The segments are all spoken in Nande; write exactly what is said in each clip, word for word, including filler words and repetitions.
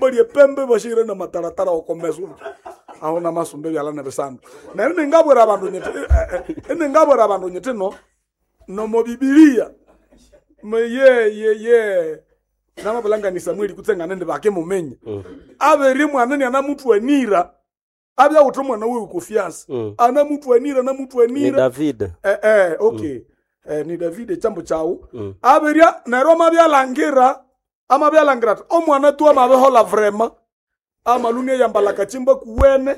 Erihimba lyepembe bashire na mataratara okomeso aho namasumba ebyala nebisandu. Neryo ningabwira abandu nyiti iningabwira abandu nyiti no nomo Bibilia ye ye ye namabulangani Samueli kutsengane ndi bakemumenye abere mwana ni anamutwanira abyawutha omwana wewe kofiasa Mm. anamutwanira Ni anamutwanira David. eh, eh, okay eh, ni David echambo chawu Mm. aberya neryo amabyalangira amabyalangira ati omwana tu amabihola vrema amaluni eyambala kachimba kuwene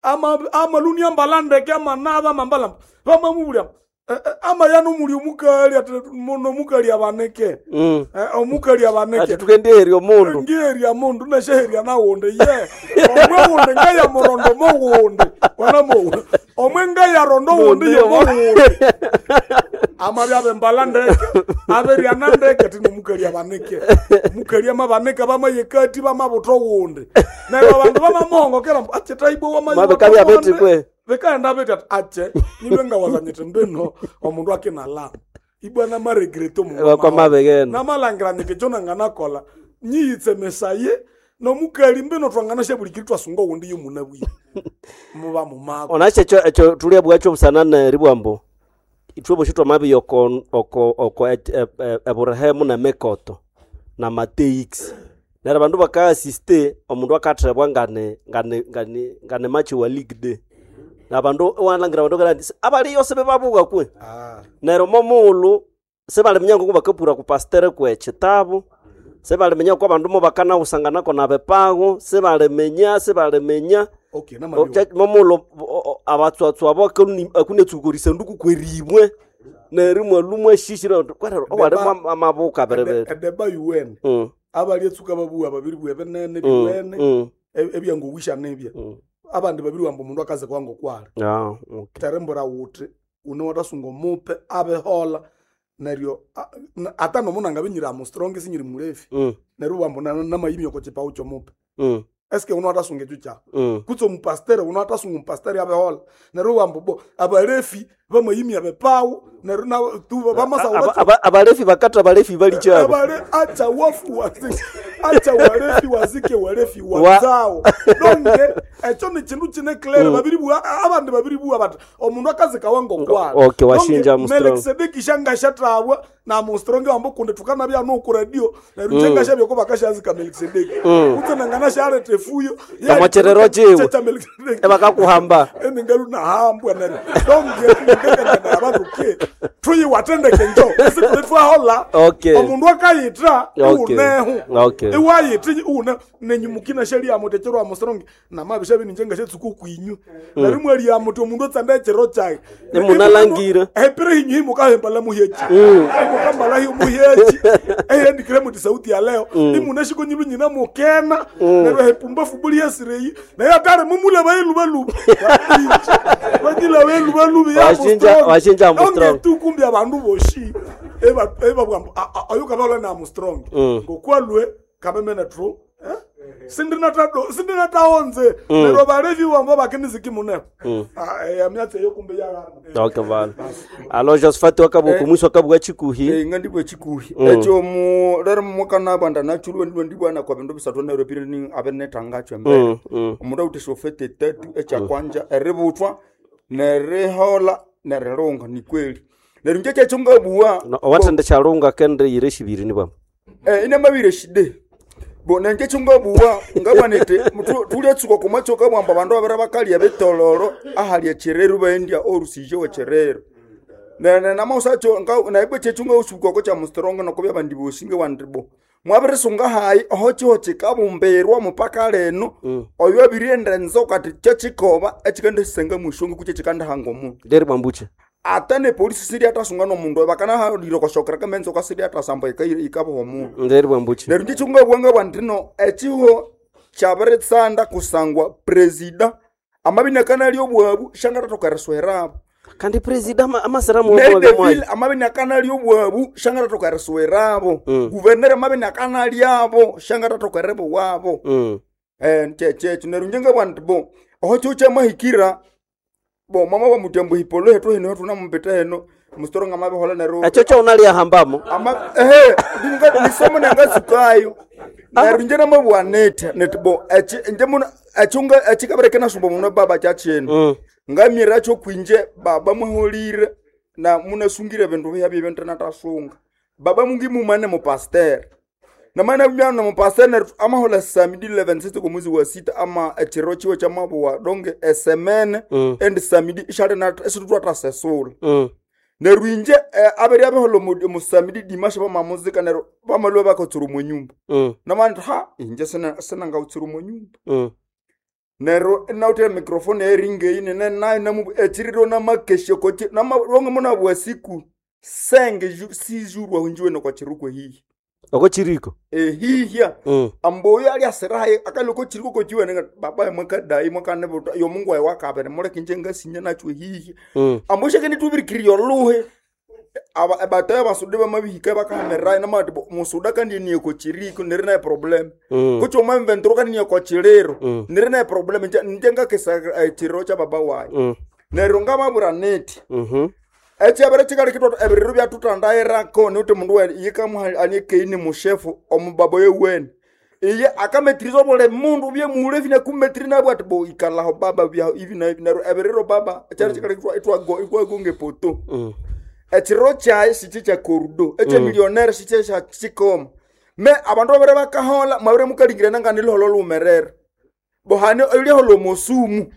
ama amaluni ambala ndeke amanaba amambala bamamubulya eh, eh, amayana omuli omukali ati muno omukali abaneke Mm. eh, omukali abaneke Ati tukendeerya omundu. ngeria mundu nesheheria nawundi ye omwe wundi ngayamurondo mowundi wanamowu omwe ngayarondo wundi yomowundi amabya bembala ndeke aberiana ndeke tino mukali abaneke mukali amabaneke bamayekati bamabuto wundi neryo abandu bamamuhongokera mbu ache taibwe Mabikabya beti kwe. bikaenda beti ati ache nilwe ngawazanyete mbino omundu akinala ibwa namaregrete omundu Bakwamabegenda. namalangira nyiti kyo nanganakola nyiyitsemesaye nomukali mbino twanganasha bulikiri twasunga owundi yomunabwire muba mumako Onache ekyo ekyo tulya bwakyo busanana eribwambo. Ithwe bosi twamabiya oko oko oko e- e- e- eburehemu nemekoto na mateix. Neryo abandu bakaasiste omundu akathebwa ngane ngane ngane ngane machi wa league day. Nabandu iwalangira abandu kandi abali yose bebabuka kwe. Neryo momughulhu sibaliminya ngoku bakapura ku pastere kwe kitabu sibaliminya ko abandu mo bakanawusanganako nabepago sibaliminya sibaliminya okay O- namabyo kya- momughulhu o- o- abatswatswa abo akuni- akunetsukorisa nduku kweribwe neryo imwalhu mwashishira kwerero owalimu amabuka biribiri edeba yuwene Mm, abali etsuka babuwa babiri bwe binene mm, biwene mm, e- ebyangowisha nibya mm. abandi babiri wamba omundu akaze kwanga okwala Ah, okay. terembura wuthi une watasunga omupe abehola neryo a- na- ata nomundu angabinyira amustrong sinyiri mulefi Mm, neryo wamba namayimi oko chipawu kyomupe mm, eske une watasunga ekyo kyawu mm. kutse omupastere uno atasunga omupastere abehola neryo wamba bo abalefi bamayimi abepawu neryo na- tu bamasawu Aba- aba- abalefi bakatha abalefi bali kyabo abale acha wafu wazike acha walefi wazike walefi Wa- wazao donge ekyo ni kindu kine clear babiri bwa abandi babiri bwa bati omundu akazika wango kwala Okay, washinja Armstrong. Melkisedeki shangashatabwa na Armstrong wambo kundi tukana bya no ku radio neryo chengasha byoko bakashazika Melkisedeki utsenangana sharete fuyo Kamocherero chiwe. cha Melkisedeki ebakakuhamba eningalu nahambwa neryo donge ngekengana abantu ke tuyiwatendeke njo isikuti twahola Okay. omundu akayitra Okay. unehu Okay. iwayitra une nenyumukina sheliamuti ekiro amusrongi namabisha bininje ngashetsuka okwinyu neryo mwaliamuti omundu otsanda ekiro kyake Imunalangira. epire hinyu himukahembala muhyechi imukambala himuhyechi ehendikire muti sauti ya leo imunashiko nyilu nyina mukena neryo hepumbafu buli yesireyi naye atari mumule bayilubaluba banyila belubaluba Washinja- washinja Armstrong. tukumbi abandu boshi eba ebabwambo ayukabaola na Armstrong ngokwalwe kabemene tru eh? sindinatado sindinataonze neryo balevi wambo bakiniziki mune Ah, eh, emyatsi eyo kumbe yalana okay vale alo Josephat wakabuka omwiso akabwa chikuhi Eh, nga ndibwa chikuhi ekyo mu rero mukana banda nachulwe ndibwa ndibwana kwa bindu bisathu neryo piri ni abenetangachwe mbere Mm, mm. omundu awuthe shofete tatu ekyakwanja eributhwa nerihola nerilunga ni kweli neryo nje kyekyo ngabuwa No, owathende kyalunga kende yire shibiri nibwa Eh, inamabire shide bo nenje kyongabuwa ngabwanete tulyatsuka kumatsoka bwamba abandu babiri bakalya betololo ahalya cherero baendya orusije we cherero nene namausacho naibwe chechu ngausuka kya mustrongo nokubya bandi bosi ngewandibo mwabirisunga hayi oho chiho chikabumbirwa mupaka leno oyo abirienda nzoka ati kyekikoba ekikandasisenga mushongo kukye kikandahanga omundu nderi bwambuche ata ne polisi siri atasunga nomundu bakanahalire koshokera kamenzoka siri atasamba ikaboha omundu nderi bwambuche neryo ndichungabwanga bwandino echiho kyabiritsanda kusangwa presida amabinakana obwabu shangatatoka eriswerabo kandi presida ama- amasiramu Mary wamwe Deville amabinakana lyobwabu shangatatoka eriswerabo guverneri amabinakana lyabo shangatatoka eribuwabo Mm. eh chechecho neryo njengabwa bo oho chiho kyamahikira bo mama wa mutembo hipolo hetu hino hetu namumpeta heno Mustoro nga mabihola neryo Echo cho unaliyahambamo. Ama ehe ndinga nisomo nangasukayo. Neryo nje namabwa nete nete bo echi nje muna echunga echikabereke nasumba muno baba chachene. Mm. Ngamira cho kwinje baba muholire na munasungire bintu bya bye bintu natasunga. Baba mungi mumane mu pasteur. Na mana myana mu pasteur neryo amahola samedi eleven sita ku mwezi wa sita ama echiro chiwe cha mabuwa donge esemene Mm. and samedi ishale na esitutwa tasesula. Mm. Neryo inje eh, abere abehola mu- musamidi dimashe bamamuzika neryo bamalwe bakatsura omu nyumba. Mm. Namandi ha inje sina sinangautsura omu nyumba. Mm. Neryo inawuthe microphone eringeyi nene nayo namu echiriro namakeshe kochi namalonge munabwa siku senge ju- sizurwa hunjiwe kwa chirukwe hihi. Oko chiriko. Ehihya Mm. amboyo ali asirahaye akaloko chiriko kochiwe nenga baba mwakadai mwakanebuta yo mungu wae wakabere muleke inje ngasinya nachwe hihi. Mm. Ambosheke nitubirikiri yoluhe aba abatayo basude bamabihika bakahamerayo namati bo musuda kandi niye kochiriko niri naye problem. Mm. Kucho mwamventuro kandi niye kochiriro Mm. niri naye problem nje nje ngakesa eh, chiriro cha baba waye. Mm. Neryo ngamabura neti Mhm. ekyabere kikali kitwa ebiriro byatutandayirako niuti mundu we yikamuha anikeini mushefu omubaba yewene iye akametiriza obuli mundu byemuhule ebi nakumetiri nabwo ati bo ikalaho baba bya ibi na ibi neryo ebiriro baba ekyari kikali kitwa itwago itwagonga epoto. Mm. Ekiriro kyaye sikye kya korudo ekyemilionere sikye kya kikoma me abandu babere bakahola mwabere mukalingirana nga niliholo lumerere bohane olihola omosumu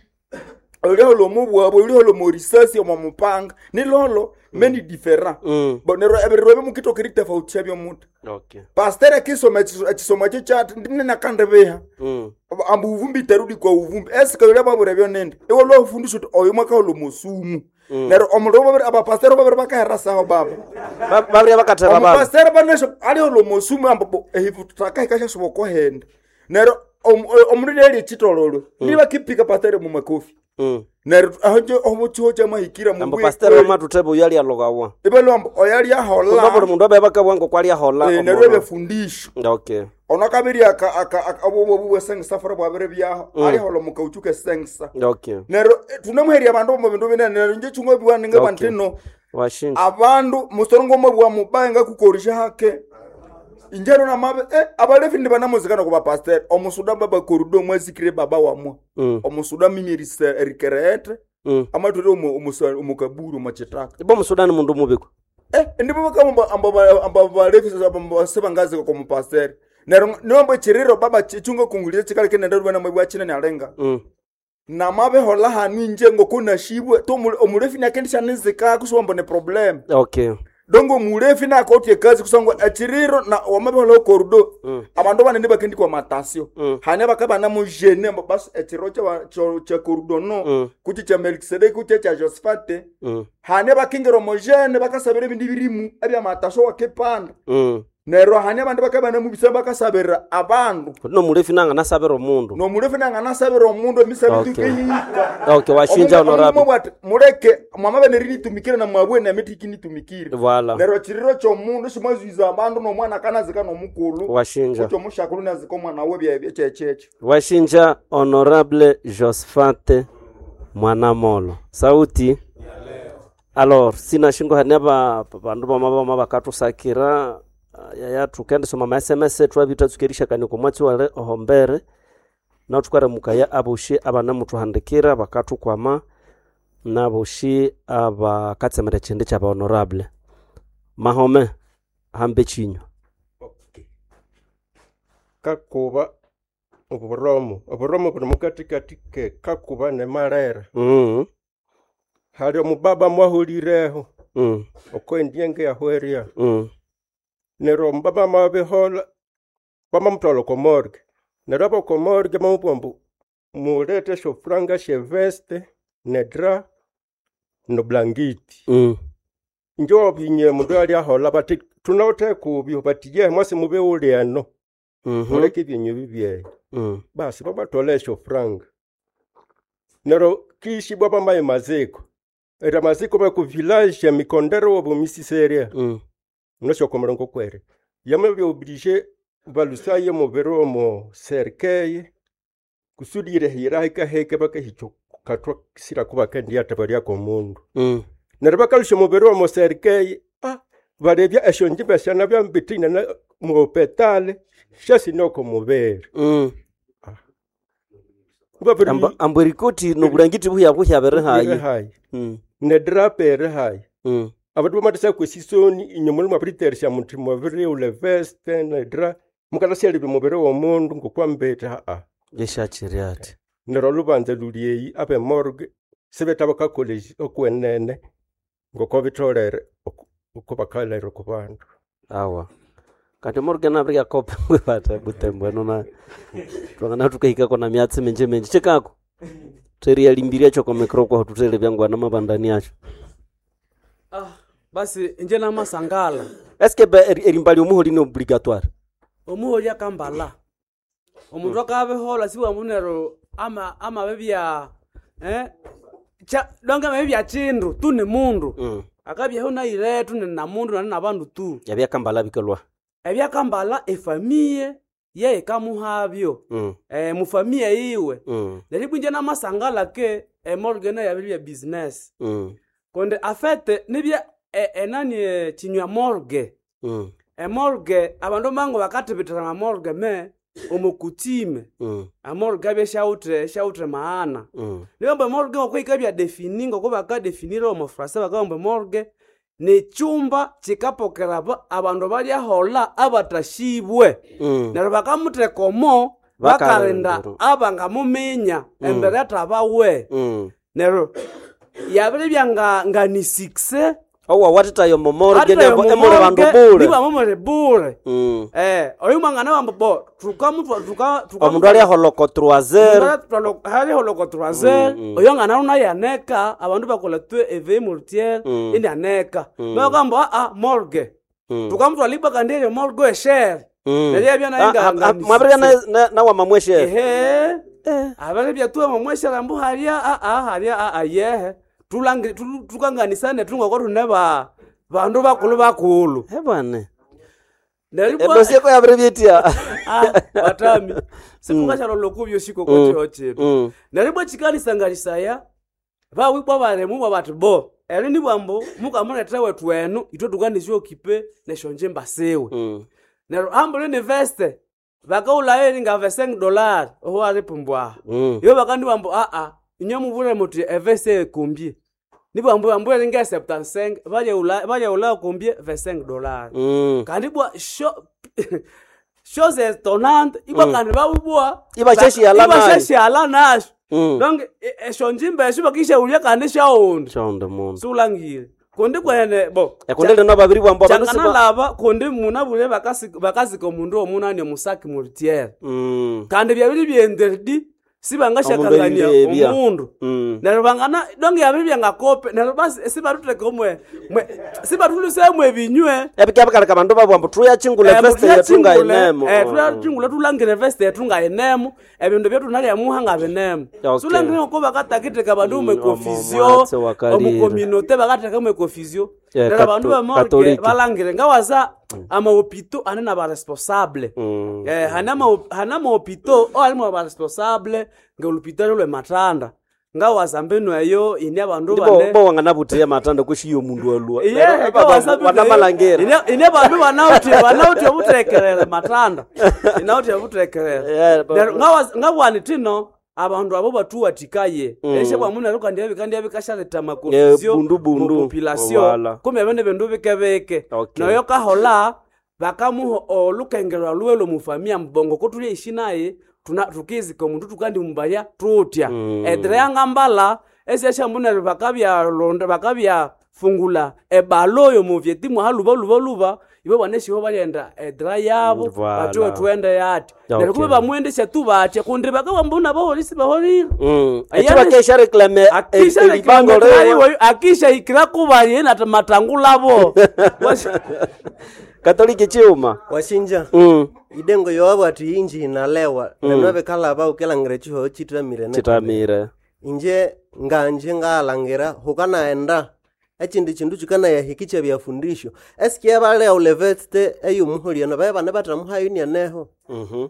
olihola omobwabo olihola omorisasi omomupanga niliholo many different. Mm. Bo neryo ebiriro ebimukitoka eritofautisha byomuti. Okay. Pastor akisoma ekiso- ekisomo ekyo kyati ndinenakandbiha Mm. amba uvumbi itarudi kwa uvumbi esika babura byonende iwe lwafundisha uti oyo mwakahola omosumu. Neryo omuliro babiri abapasiteri babiri bakahera saho baba. Ba- Babiri bakateba baba. Omupasiteri banesho alihola omosumu amba bo ehivu tutakahikashashuba okohenda. Neryo omundu lyali ekitololo nibakipika pasiteri mumakofi. Mm. Neryo aho nje omuchiho kyamahikira Ambo mubwe pastor wamatuteba uyo alialogawa. ibelo amba oyo Kuba buli alyahola mundu abe bakabwa ngoko aliahola. eh, neryo ebyefundisho. Okay. Ono kabiri aka aka aka- obo bwe sengisa fora bwabere byaho alihola mukauchuka sengisa. Okay. Neryo eh, tunamuherya abandu omu bindu binene neryo nje chungwe biwaninga Okay. bantino Washinja. abandu musorongo mwe mubaye ngakukorisha hake injero namabe eh, abalefi ndi banamuzikana ku bapasiteri omusuda baba korudo mwazikire baba wamwe. Mm. Omusuda mimi erikereete Mm. amatwere omukaburu omwachitaka. Ibo musudani mundu mubiko. Eh, ndipo bakamba amba amba balefi sebangazika kwa mupasiteri neryo niwambo echiriro baba chichunga kungulira chikali kinende rubana mwe bwachina nyalenga. Mm. Namabehola hanu inje ngokunashibwe to omulefi nakendisha nizikako siwambo ne problem. Okay. Dongo mulefi nakotye kazi kusangwa echiriro na wamabehola okorudo. Mm. Abandu banene bakendikwa matasio. Mm. Hane bakaba mujene basi echiriro cha cha- cha korudo no Mm. kuchi cha Melkisedeki kuchi cha Josphate. Mm. Hane bakingira omujene bakasabira ebindi birimu ebyamatasio wakipanda. Mm. Neryo hane abandu bakaba mubisa bakasabira abandu. No mulefi nanga nasabira omundu. Nomulefi nanganasabira omundu emisabi Okay. tukihika. Okay, washinja honorable. Bwati muleke mwamabe nerinitumikire na mwabwe nemiti ikinitumikire. Voilà. Neryo chiriro kyomundu simwazuiza abandu nomwana akanazika nomukulu. Washinja. Kucho omushakulu nazika omwana we byebyo kyekyecho. Washinja honorable Josphat Mwanamolo. Sauti. Alors, sina shingo hania ba bandu bama bama bakatusakira yaya tukendisoma ma S M S twabita tsukerisha kani kumwatsi wale ohombere na tukaramukaya aboshi abana mutuhandikira bakatukwama naboshi abakatsemera chindi cha ba honorable mahome hambe chinyo. Okay. Kakuba oburomo oburomo buli mukatikati ke kakuba ne malera. Mm. Hali omubaba mwahulireho Mm. okwendyenge yahweria. Mm. Neryo omubaba mabihola bamamutwala oko morgue. Neryo aboko morgue bamubwira ambu mulete esyofuranga syeveste nedra noblangiti. Mm. Inje wabinye mundu alyahola bati tunawithe kubyo bati ye mwasi mube uli eno. Mhm. Muleke ebyenyu bibyeyo. Mm. Basi babathola esyofuranga. Neryo kishibwa bamaye maziko. Era maziko baku village ya Mikondero wobumisisere. Mm. Nosyokomera kwere. Yamabya oblige balusaye mubiri omo cercueil kusudi irehira hekaheke bakahicho katwa sira kuba kendia tabaria komundu. Mm. Neryo bakalusya omubiri w'omuserikei ah balebya esyonjimba syanabya mbitine na muhopetale syasine oko mubiri. Mm. Babiri Amba ambo erikoti nobulangiti buhya buhya birihayi. hayi. Mm. Nedrape erihayi. Mm. Abandu bamatasa kwesisoni inyuma mwabiriteresya muthi mwabirighulha eveste nedra mukanasyalebya omubiri w'omundu ng'okwambiti haa. Yeshachiri ati. Neryo olubanza luli eyi ab'emorgue sibetha bakakolha okwenene ng'oko bitholere oku- oko bakalera oko bandu. Awa. Kati morgue nabirya kope bata butembo eno na twangana tukahikako na myatsi minji minji chikako. Theriyalimbiria choko mikro kwa tutele byangwana mabandani acho. Ah, basi inje namasangala Eske be eri- erimbali omuholi ni obligatoire. omuholi akambala omundu akabihola siwambu neryo ama amabibya eh cha donge amabibya chindu tu ni mundu Mm. akabyaho nairetu ni na mundu nani na bandu tu Yabyakambala bikalwa. ebyakambala efamiye ye ikamuhabyo Mm. eh mufamiye iwe Mm. neryo ibwa inje namasangala ke emorgue nayo yabiribya business Mm. kundi afete nibya e- enani eh, chinywa morgue Mm. emorgue abandu mango bakathibithira amamorgue me omukutime Mm. amorgue abya syawuthe syawuthe maana Mm. nibamba emorgue ngoko yikabya defini ngoko bakadefinira omu frasa bakabamba emorgue nekyumba kikapokera aba- abandu balyahola abatashibwe Mm. neryo bakamutheka omo bakalinda Bakalinda. abangamuminya embere athabawe Mm. neryo yabiribya nga nga ni six Owa watitayo momorgue emuli bandu bule. nibwamumuli bule Mm. Eh, oyo mwangana wambo bo tukamutwa tuka tuka Omundu alyaholoko troisière. haliholoko troisière Mm, mm. oyo ngana runa yaneka abandu bakola twe eveye mortiere Mm. indi aneka Mm. bakamba a morgue Mm. tukamutwa libwa kandi eyo morgue eshere Mm. neryo yabya nayo Ah, nga- ah, nga ah, ni mwabirya six. na- na- nawama mweshere. ehe Eh. abale byatuwa mamweshera mbu halya aa halya aa yehe tulangi tu- tukanganisane tungoko tune ba bandu bakulu bakulu Eh bwana. neryo ibwa- Edosie ko yabiribyetia. Ah, batami situkashalolo kubyo shikoko chetu Mm. neryo ibwa chikalisangalisaya bawibwa balemu bwa bati bo eri nibwambo mukamuletha wethu enu ithwe tukanisyokipe nesyonjimba siwe Mm. neryo ambuli ni veste bakaghulhayo eri nga vingt-cinq dollars oho alipumbwaha Mm. iyo bakandiwambu aa inywe mubure muthi eveste ekumbye nibwambu ambu eri nge septante-cinq balyaghulhayo kumbye vingt-cinq dollars Mm. kandi bwa sho chose étonnante ibwa Mm. kandi babubwa Ibashashyala nayo. ibashashyala nasho Mm. donc e- esyonjimba esyo bakishaghulya kandi syawundi Chonde mundu. siwulangire kundi kwene bo Ekunde lino babiri bwambo abandu siba. kyanganalaba kundi munabule bakasi- bakasika omundu omunani omusaki mortiere Mm. kandi byabiri byenderdi sibangashakangania Omundu eribya. omundu Mm. neryo bangana donge yabiri byangakope neryo basi sibathutheka omwe mwe- sibathulusemu ebinywe Ebikyabikaleka abandu babwambo tuyachingula veste yetu ngayinemo. tuyachingula tulangire veste yetu ngayinemo ebindu byetunalyamuha ngabinemo Okay. sulangire ngoko bakatakitheka abandu Mm, omwekofizio omwatsi wakalire. omukominote bakatheka mwekofizio Eh, neryo abandu kato- bamorge Katoliki. balangire ngawasa amahopito ane nabaresponsable Mm. Eh, hana ma- hana mahopito oalimu abaresponsable ngelupitali lwematanda ngawaza mbinu eyo ini abandu Ndibo bane bo wanganabuthiya matanda kweshiyo omundu alua. Iye, Neryo ngawaza mbinu eyo, wanamalangera. ine- ine bandu banawuthi banawuthi obuthekerere matanda inawuthi obuthekerere Eh, ba- Neryo ngawaza- ngabwani tino abandu abo batuwathikaye Mm. eshe bwamu kandi ebikandi ebikashaletha Eh, amakonfusio bundu bundu. mupopulation Wala. kumbe ebindu bindu bikebike Okay. noyo kahola bakamuha olukengerwa luwe lwomufamia mbongo kotulya ishi naye tuna- tukizika omundu tukandimumbalya tutya Mm. edira yangambala esyashambu neryo bakabyalonda bakabyafungula ebalo yomuvyeti mwaha luba luba luba ibo baneshiho balyenda edira yabo Mm, voilà. batiwe tuende yati Okay. neryo kube bamwendesya tu batya kundi bakawambuna baholisi baholile Mm. Ayane- Ekibakesha reclame akisha elibango lewe. akisha ikira kubalye nati matangulabo Katoliki chiuma. Washinja Mm. idengo yowabu ati inji inalewa mm. nenobekalaba ukelangira echihoho chitamire ne- Chitamire. inje nganje ngalangira hukanaenda echindi chindu chikanayahiki chebyafundisho esikia balea uleveste eyumuhuliano baye bane batamuhayo Mhm.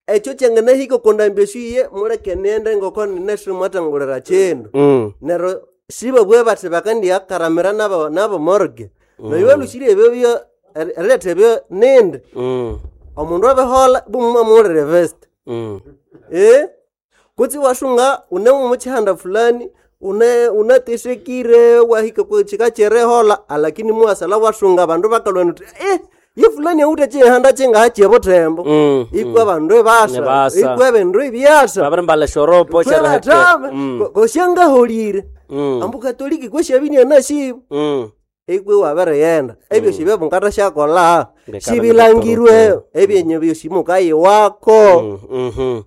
ekyo kyanganahika okondambya esyo iye muleke niende ngoko ninesire mwatangulira chindu Mm. neryo Sibabwe bathi bakandiakaramira nabo nabo morgue. Nayo balushire ebyo byo eriletha ebyo nindi. Mm. Omundu abihola bumumamulire vest. Mm. Eh? Kutsi wasunga une mumuchihanda fulani une unatesekire wahika kuchika cherehola alakini muwasala wasunga abandu bakalwa nuti eh ye fulani awute chihanda chingaha butembo Mm, ikwa abandu ebasa Ebasa. ikwa ebindu ebyasa Babiri mbala shoropo twebatama Mm. kosyangaholire Mm. ambu katoliki kwashabinia nashibo Mm. ikwe wabereyenda ebyo shibyo syakola Ngekabana shibilangirwe ebyenye byosi mukayiwako Mm, mhm.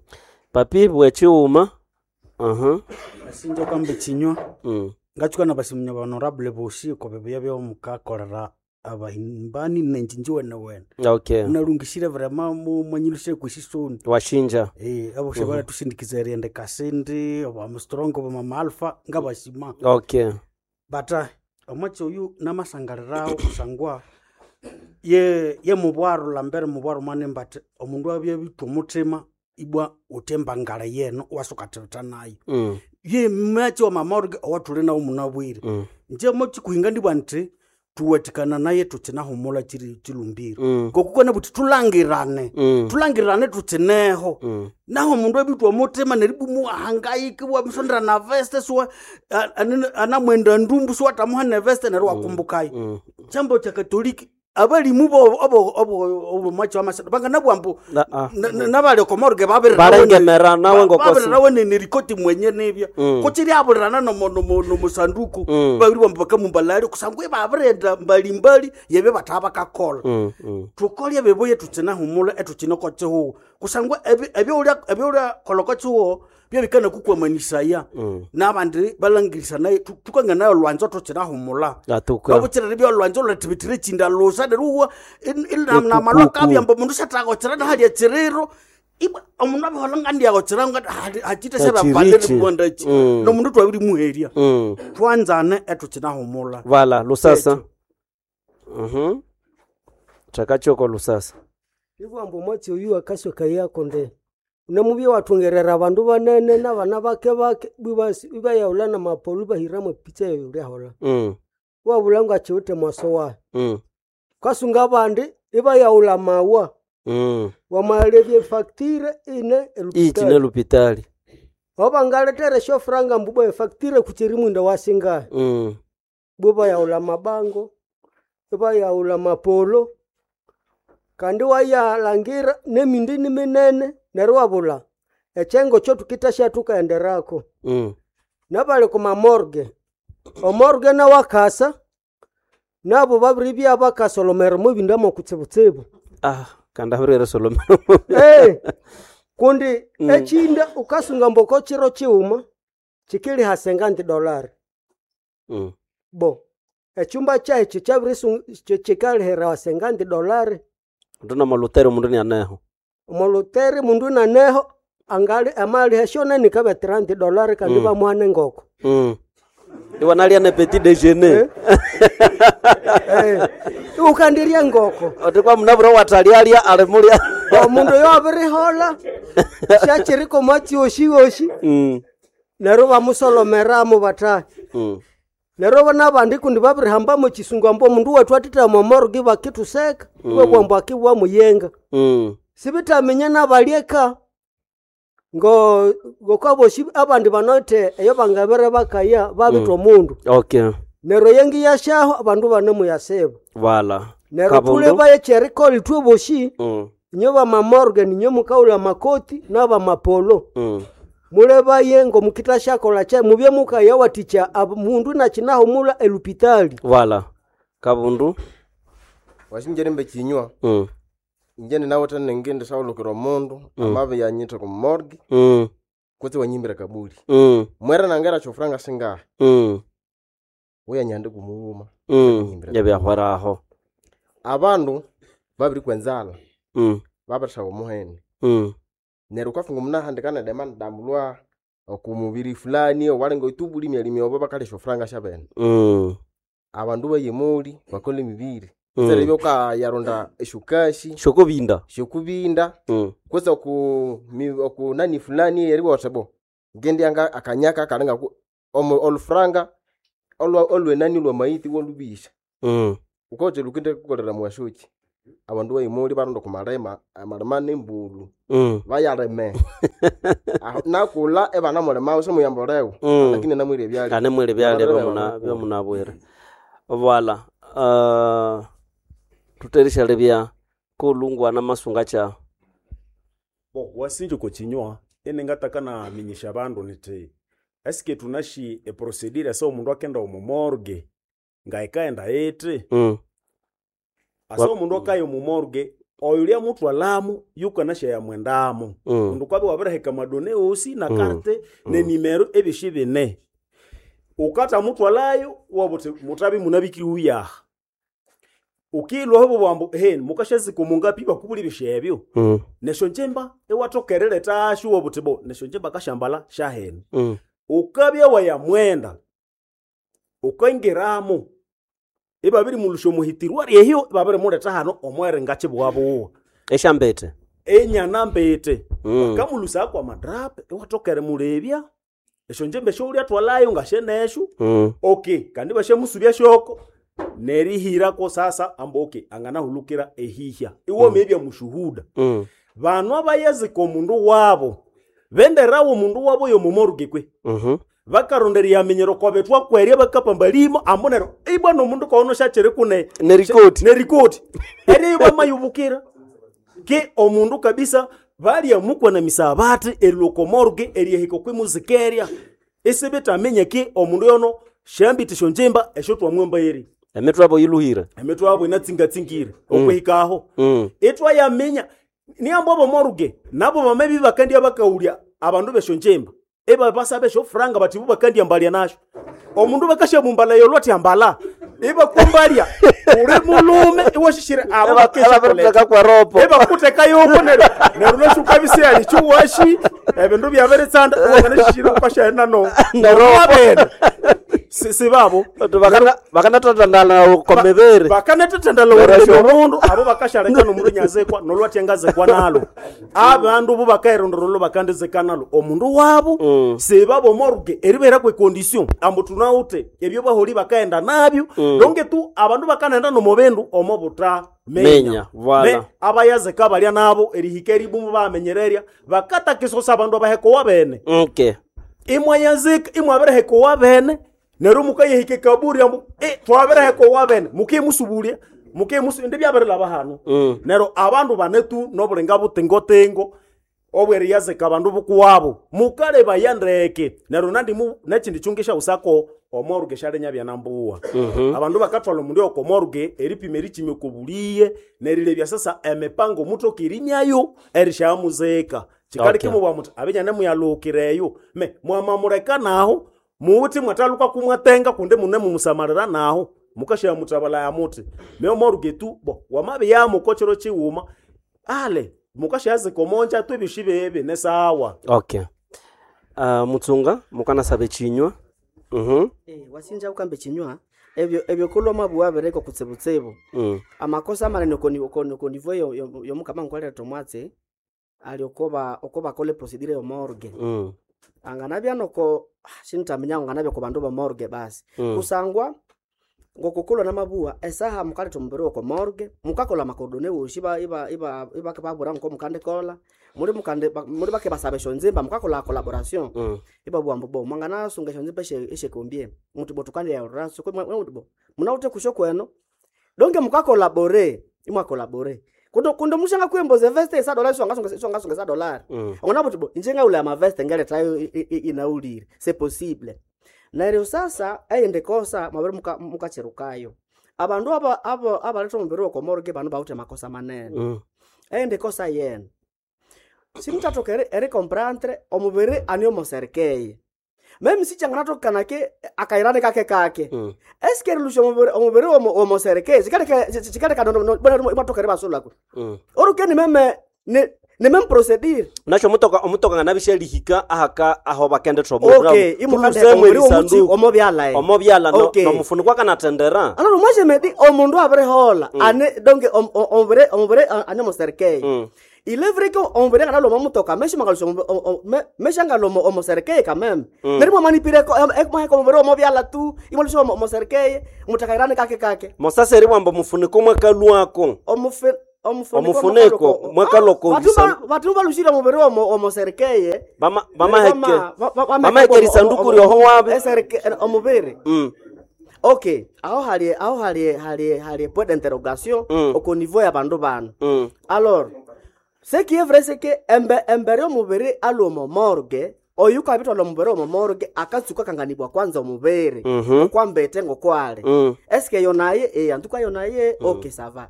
Papi bwechiuma. Mhm. Sinjo kwamba chinywa Mm. ngachuka na basimunya honorable bosi ko bebuya byo mukakorera abahimbani nenjinji wene wene Okay. unalungishire vrema mu mwanyilushe kwishisoni Washinja. eh abo shebala tusindikiza eriende kasindi oba mstrongo oba mama alpha ngabashima Okay. bata omwatsi oyu namasangalirawo kusangwa ye ye mubwaro lambere mubwaro mwane mbati omundu abye bitwa omuthima ibwa uthembangala yeno wasukathibitha nayo Mm. ye mwatsi wa mamorge owathuli nawo munabwire Mm. nje mochikuhinga ndibwa nti tuwathikana naye tutsinahumula chiri chilumbiro Mm. ngokukona buthi tulangirane Mm. tulangirane tutsineho Mm. naho mundu ebitwa omutima neribumu ahangaike wamusondera na veste suwa a- anene- anamwenda ndumbu suwatamuha neveste neryo wakumbukayo Mm. chambo cha katoliki abalimu bo obo obo obo mwachi wa masada banganabwambu Na- ah. nabali okomorge Barengemera nawe ngokosi. babirirawe nerikoti mwenye nibya Mm. kuchiri abulirana nomo- nomo- nomusanduku Mm. babiri bambu bakamumbalali kusangwa ibabirenda mbalimbali yebyo bataba bakakola Mm. Mm. tukolya bibuye tutsinahumula etutsine kotsihuwo kusangwa ebyolya kola kotsihuwo byabikana kukwamanisaya nabandi balangirisa tukanganayo lwanzo tutsinahumula Atuka. babutsirere bya lwanzo lwathibithire chinda lusa neryo uwa namalwakabyamba omundu syathakotsera nahalya tsiriro ibwa omundu abihola ngandiyakotsera hachite Achirichi. syabapalere Mm. nomundu twabirimuherya Mm. twanzane etutsinahumula Vala lusasa. Mhm. Chakachoko lusasa. Ibwambo omwatsi oyu akasweka yako nde unamubye wathungerera abandu banene nabana bake bake bibasi- ibayaghulha namapolu ibahiramu epicha eyo lyaholha Mm. wabulha ngakiwithe mwaso wayo Mm. kasunga abandi ibayaghulha mawa Mm. wamalebya efactire ine Ichi ne elupitali lupitali. obangaletera esyofuranga mbu efactire kuchiri mwinda wasingahi Mm. bwe bayaghulha mabango ibayaghulha mapolo kandi wayalhangira nemindi niminene neryo wabulha ekyengo kyothukithasya thukaghenderako Mm. nabali kumamorge omorge nawakasa nabo babiribya bakasolomera omwebindu mokutsibutsibu Ah, kanda habirere solomera. Eh, kundi echinda ukasunga mboko chiro chiuma chikiliha senganti dolari Mm. bo echumba chahe kyabirisu chikalihirawa senganti dolari Nduna malutero mundu ni aneho. omoluteri mundu naneho angali amaliha shonene kabe thirty dolari kandi Mm. bamuhane ngoko Mm. Iwa nalia ne petit déjeuner. Eh, ukandirya ngoko Otikwa munabura watalialia alimulia. omundu oyo abirihola syachiriko mwatsi oshi oshi Mm. neryo bamusolomeramo batahi Mm. neryo nabandi kundi babirihambamo chisungu ambu omundu wethu athithama omorgi bakithuseka Mm. iwabwambu akibwa muyenga Mm. sibitaminya nabalyeka ngo ngokaboshi abandi banothe eyo bangabere bakaya babitha Mm. omundu Okay. neryo yengi yashaho abandu banemuyasiba Vala. neryo Kabundu. thuleba ekyerikola ithwe boshi Mm. inyo bamamorge ninyo mukaghulha amakoti n'abamapolo Mm. mulebaye ngomukithasyakolha kya mubye mukaya wathikya ab- mundu nakinahumula elupitali Vala. Kabundu. Wasinjere mbe kinywa Mm. inje ninawithe nengindi sawulukira omundu Mm. amabi yanyitha ku morgue Mm. kutse wanyimbira kabuli Mm. mwera nangera syofuranga singahi Mm. uyanyande kumughuma Mm. Yabyahweraho. abandu babirikwa enzalha Mm. babirisaba omuhene Mm. neryo wukafunga omunahandika nedemandambulwa okumubiri fulani owalinga itubuli myali myobo bakalya esyofuranga syabene Mm. abandu bayemuli bakola emibiri Mm. mm. seribya ukayarunda esyokashi Shokobinda. syokubinda Mm. kutse oku mi- oku nani fulani eribwa wuthi bo ngendyanga akanyaka kalinga ku- omu- olufuranga olwa olwenani lwamayithi wolubisha Mm. ukoche lukinde kukolera mwashoki abandu bayimuli baronda kumalima amalima nembulu Mm. bayalime Aho, nakula ebana mulima simuyambolewo Mm. lakini namwire ebyalya Ane mwiri byalya Abarebe byomuna babakula. byomunabwire Voilà. Uh, tuterisha bya kolungwana masunga cha Bo wasinje kochinywa enengataka na minyisha bandu niti esike tunashi eprocedure asa omundu akenda omu morgue ngaikaenda iti mm. asa Wa- omundu akaya omu morgue oyulia mutwalamu yukanasha yamwendamu Mm. kundu kwabe wabiriheka amadone osi na Mm. karte nenimero ebyosi bine ukata mutwalayo wabuti mutabi munabikiri uyaha ukilwaho bubwambu he mukashazika omungapi bakubula ebyosi ebyo Mm. nesho njemba ewatokerere tashu wabuti bo nesho njemba kashambala shahene Mm. ukabya wayamwenda ukaingiramo ibabiri mulusha omuhitirwa ryehyo ibabiri muleta hano omwere ngachibwabuwa Eshambete. enyana mbete Mm. bakamulusa kwa madrape ewatokere mulebya esho njemba eshoulya twalayo ngasheneshu Mm. okay kandi bashamusubya shoko nerihirako sasa amba okay anganahulukira ehihya iwoma ebya mushuhuda Mm. banu abayazika omundu wabo benderawo omundu wabo yomumorgue kwe Mhm. bakarondera yamenyero kwa betwa kwerya bakapamba limo ambo nero ibwa nomundu kono shachere kune Nerikoti. nerikoti eriyo bamayubukira ke omundu kabisa balyamukwa na misabati eriloko morgue eriyahika kwimuzikeria isibitaminya ke omundu yono shambiti shonjimba esho twamwemba eri Emitwe abo yiluhire. emitwe yabo inatsingatsingire okwihikaho Mm. itwayaminya niambo abo moruge nabo bamebi bakandya bakaulya abandu beshonjemba eba basaba eshofuranga bati bo bakandya mbalya nasho omundu bakashamumbala yolwa ti ambala ibakumbalya uli mulume iwashishire abo bakeshakoleta Eba kwa ropo. ebakuteka yoko neryo neryo nashuka bisiali chiwashi ebindu byabiritsanda wanganashishire ukashaenda no nabene sibabo Bakana bakana tatandala komebere. bakanathethendela omundu abo bakashaleka nomundu nyazekwa nolwatyangazekwa nalo abandu bo bakairondorolo bakandizeka nalo omundu wabo Mm. sibabo morgue eribera kwe condition ambu tunawute ebyo baholi bakaenda nabyo donge tu abandu bakanaenda nomubindu omo buta Menya, voilà. Ne, abayazeka balya nabo erihika eribumu bamenyererya bakatakisosa abandu abahekowa bene Okay. imwayazika imwabiriheka owabene neryo mukayahika ekaburi ambu e, twabiriheka owabene mukimusubulya mukimusu indi byabirilaba hano Mm. neryo abandu banetu nobulinga butingotingo obweriyazika abandu bukuwabo mukalebaya ndeke neryo nandimu nekindi kyungisha usako omoruge syalinya byanambuwa abandu bakathwala omundu yokomoruge eripima erikimya okobuliye nerilebya sasa emipango mutoka erinyayo erishamuzika kikali Okay. kimubwa muti abinyane muyalukireyo me mwamamuleka naho muwuthi mwathaluka kumwatenga kundi mune mumusamalira naho mukashamutabala ya muti meomoruge tu bo wamabiyamo kochero chiwuma ale mukashazika omonja tu ebyoshi bebe nesawa Okay. Uh, mutsunga mukanasaba echinywa. Mhm. Eh, wasinja ukambe chinywa ebyo ebyo kulwa mabuwa bereko kutsebutsebo Mm. amakosa amanene okoni okoni okoni vo yo yo- yomukama nkwaleta omwatsi ali okoba okoba kole procedure yo morgue Mm. anganabya noko shintamenya anganabya ku bandu ba morgue basi Mm. kusangwa ngokukulwa namabuwa esaha mukaleta omubiri woko morgue mukakola makodone woshi iba iba iba ibakababura nko mukandikola muri mukande ba- muri bake basaba eshonzimba mukakola collaboration Mm. ibabuwa mbu bo mwanganasunga eshonzimba eshe eshekombie muti bo tukandiyaurira soko muti bo munaute kusho kweno donge mukakolabore imwakolabore kundo kundo mushanga kuemboze veste isa dolari songa songa songa sa dolari Mm. ongona buti bo inje ngaula ya maveste ngaletayo inaulire c'est possible neryo sasa eyindi kosa mwabiri muka- mukacherukayo abandu aba abo abaletha omubiri wokomorge bano bawuthe makosa manene Mm. eyindi kosa yene simuthathoka eri- erikomprendre omubiri ani omoserikeye meme sichanganatokana ke akairani kake kake Mm. eske erilusha omubiri omubiri womo- womoserikeye chikaleka imwathoka eribasulako Mm. orukeni meme ni ni meme procedure Nacho omutoka omutoka nganabishalihika ahaka aho bakendetha okay imukande omubiri womuchi omobyala eh. omobyala no- Okay. nomufunikwa kanatendera. Alors moi je me dis omundu abirihola ane donc om- om- omubiri omubiri ane omoserikeye Mm. Il est vrai que omubiri anganalwa omo mutoka meshimangalusya meshangalwa omo- omo serikeye kameme Mm. neryo mwamanipire mwaheka omubiri omo byala tu imwalusya omo omo serikeye mutakairane kake kake Mosasa eribwamba omufuniko mwakalwako. omufi Omufuniko mwakalwako omufuniko batu balushire omubiri omo omo serikeye Bama bamaheke. Bamaheke erisanduku ryoho wabe. Omubiri Mm. okay aho hali aho hali hali hali point d'interrogation Mm. au niveau ya bandu bano Mm. alors ce qui est vrai c'est que embe embere omubiri alwa omo morgue oyu kabitwala omubiri omo morgue akatsuka kanganibwa kwanza omubiri Mhm. okwambete ngokwali Mm. eske yo naye eh antuka yo naye okay ça va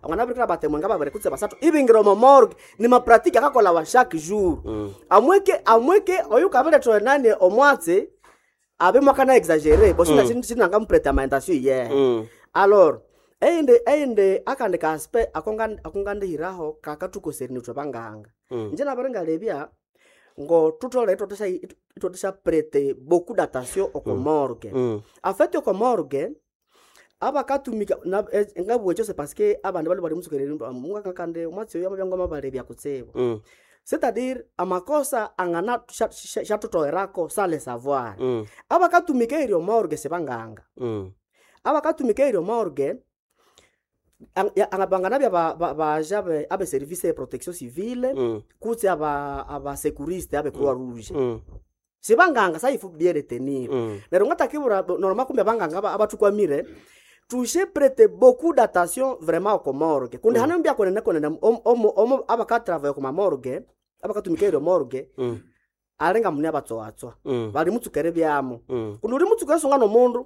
angana birikira batemwe nga babiri kutse basatu ibingira omo morgue ni mapratike akakola wa chaque jour Mm. amweke amweke oyu kabiletwa nani omwatsi abe mwakana exagere bo sina mm. sinanga mpreta maentasio ye Mm. alors eyindi eyindi akandi ka aspect akonga akongandihiraho kakatukoserine ithwe banganga Mm. nje nabiringalebya ngo tutole itwatesha itwatesha prete beaucoup d'attention oko morgue Mm. en fait oko morgue abakatumika na- eh, ngabugha ekyo c'est parce que abandi bali bali musukereri mungakakande omwatsi oyo amabya ngamabalebya kutsibu Mm. c'est-à-dire amakosa angana shatutogherako sans le savoir Mm. abakatumika eryo morgue sibanganga Mm. abakatumika eryo morgue ang- ya- anga- banganabya ba- ba- baja abe abe service ya protection civile Mm. kutse aba abasekuriste abe croix rouge Mm. sibanganga sa il faut bien retenir Mm. neryo ngatakibura norma kumbe abanganga aba- abathukwamire tushe prete beaucoup d'attention vraiment oko morgue kundi hane mbya konene konene omo- omo omo abakatravaille kuma morgue abakatumika eryo morgue Mm. alinga mune abatsowatswa Mm. bali mutsukere byamo Mm. kundi uli mutsuka esunga nomundu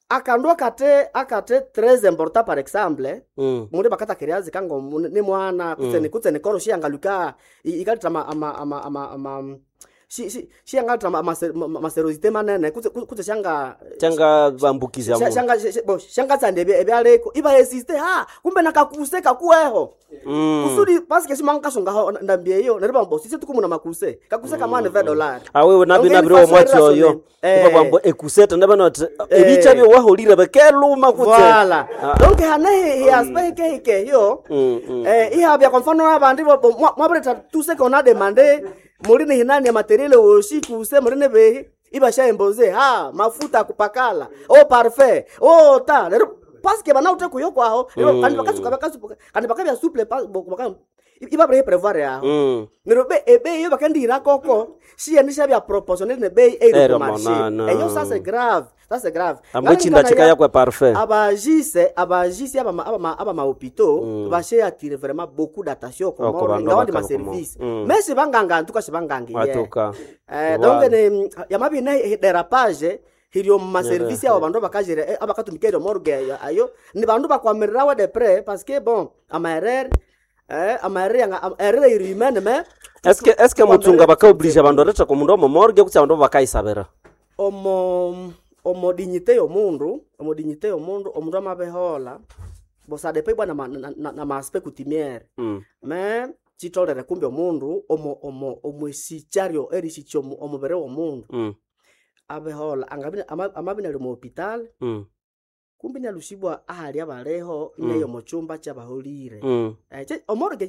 akandu akate akate tres important par exemple Mm. mundu bakatakirya zika ngo mu- ni mwana kutse ni kutse ni koro shiyangaluka ikaleta ama ama ama ama ama shi shi shiyangaleta ama maserosité manene kutse kutse shanga Changa bambukiza sha- mundu. shanga shi- bo shangatsanda ebya ebyaleko iba existe ha kumbe nakakuse kakuweho Mm. kusudi paske simangasungaho ndambi eyo neryo bambo sisi tukumuna makuse kakuse kamwana ve dollar awewe nabi Donc, nabiri ini omwatsi façon oyo eh. kuba bwambo ekuseta ndabanoti Eh. ebicha byo waholire bekeluma kutse Voilà. Ah. Donc hane hi hi aspect hike hike hiyo. Mm, mm. Eh ihabya kwa mfano abandi bo- bo- mwa- mwabuleta tout ce qu'on a demandé mulini hinani ya materiel oshi kuse mulini behi ibasha emboze ha mafuta kupakala oh parfait oh ta lero parce que bana ute kuyo kwaho lero Mm. kandi bakasuka bakasuka kandi bakabya souple pa bo- baka iba bre prevoir yaho Mm. neryo be ebei yo bakandihira koko shiyenisha bya proportionnel ne bei Ero eri ku marché monana. eyo ça c'est grave ça c'est grave Ambo echinda chikaya kwe parfait abagise abagise abama abama abama hôpitaux mm. bashe attirer vraiment beaucoup d'attention Oh, ko ku bandu ngawandi ma abakala ku mo- service Mm. mais sibanganga antuka sibanganga ye Atuka. eh Voilà. donc ne yamabi ne dérapage hiryo mu maservice abo bandu bakajire eh, abakatumika eryo morgue ayo- ayo ni bandu bakwamirirawe de près parce que bon ama erreur eh ama erreur yanga ama erreur iri humaine mais eske eske mutsunga bakaoblige abandu aretha komundu omo morgue kutse abandu bakaisabira omo omo dignité yomundu omo dignité yomundu omundu amabehola bosadepe ibwa na, ma- na, na, na maaspect coutumière Mm. me chitolere kumbe omundu omo omo omwesichario erisicha omu- omubiri womundu Mm. abehola angabina ama- amabina ali mu hospital Mm. kumbe inalusibwa ahali abaleho ineyo muchumba kyabaholire Mm. eh, che- omorgue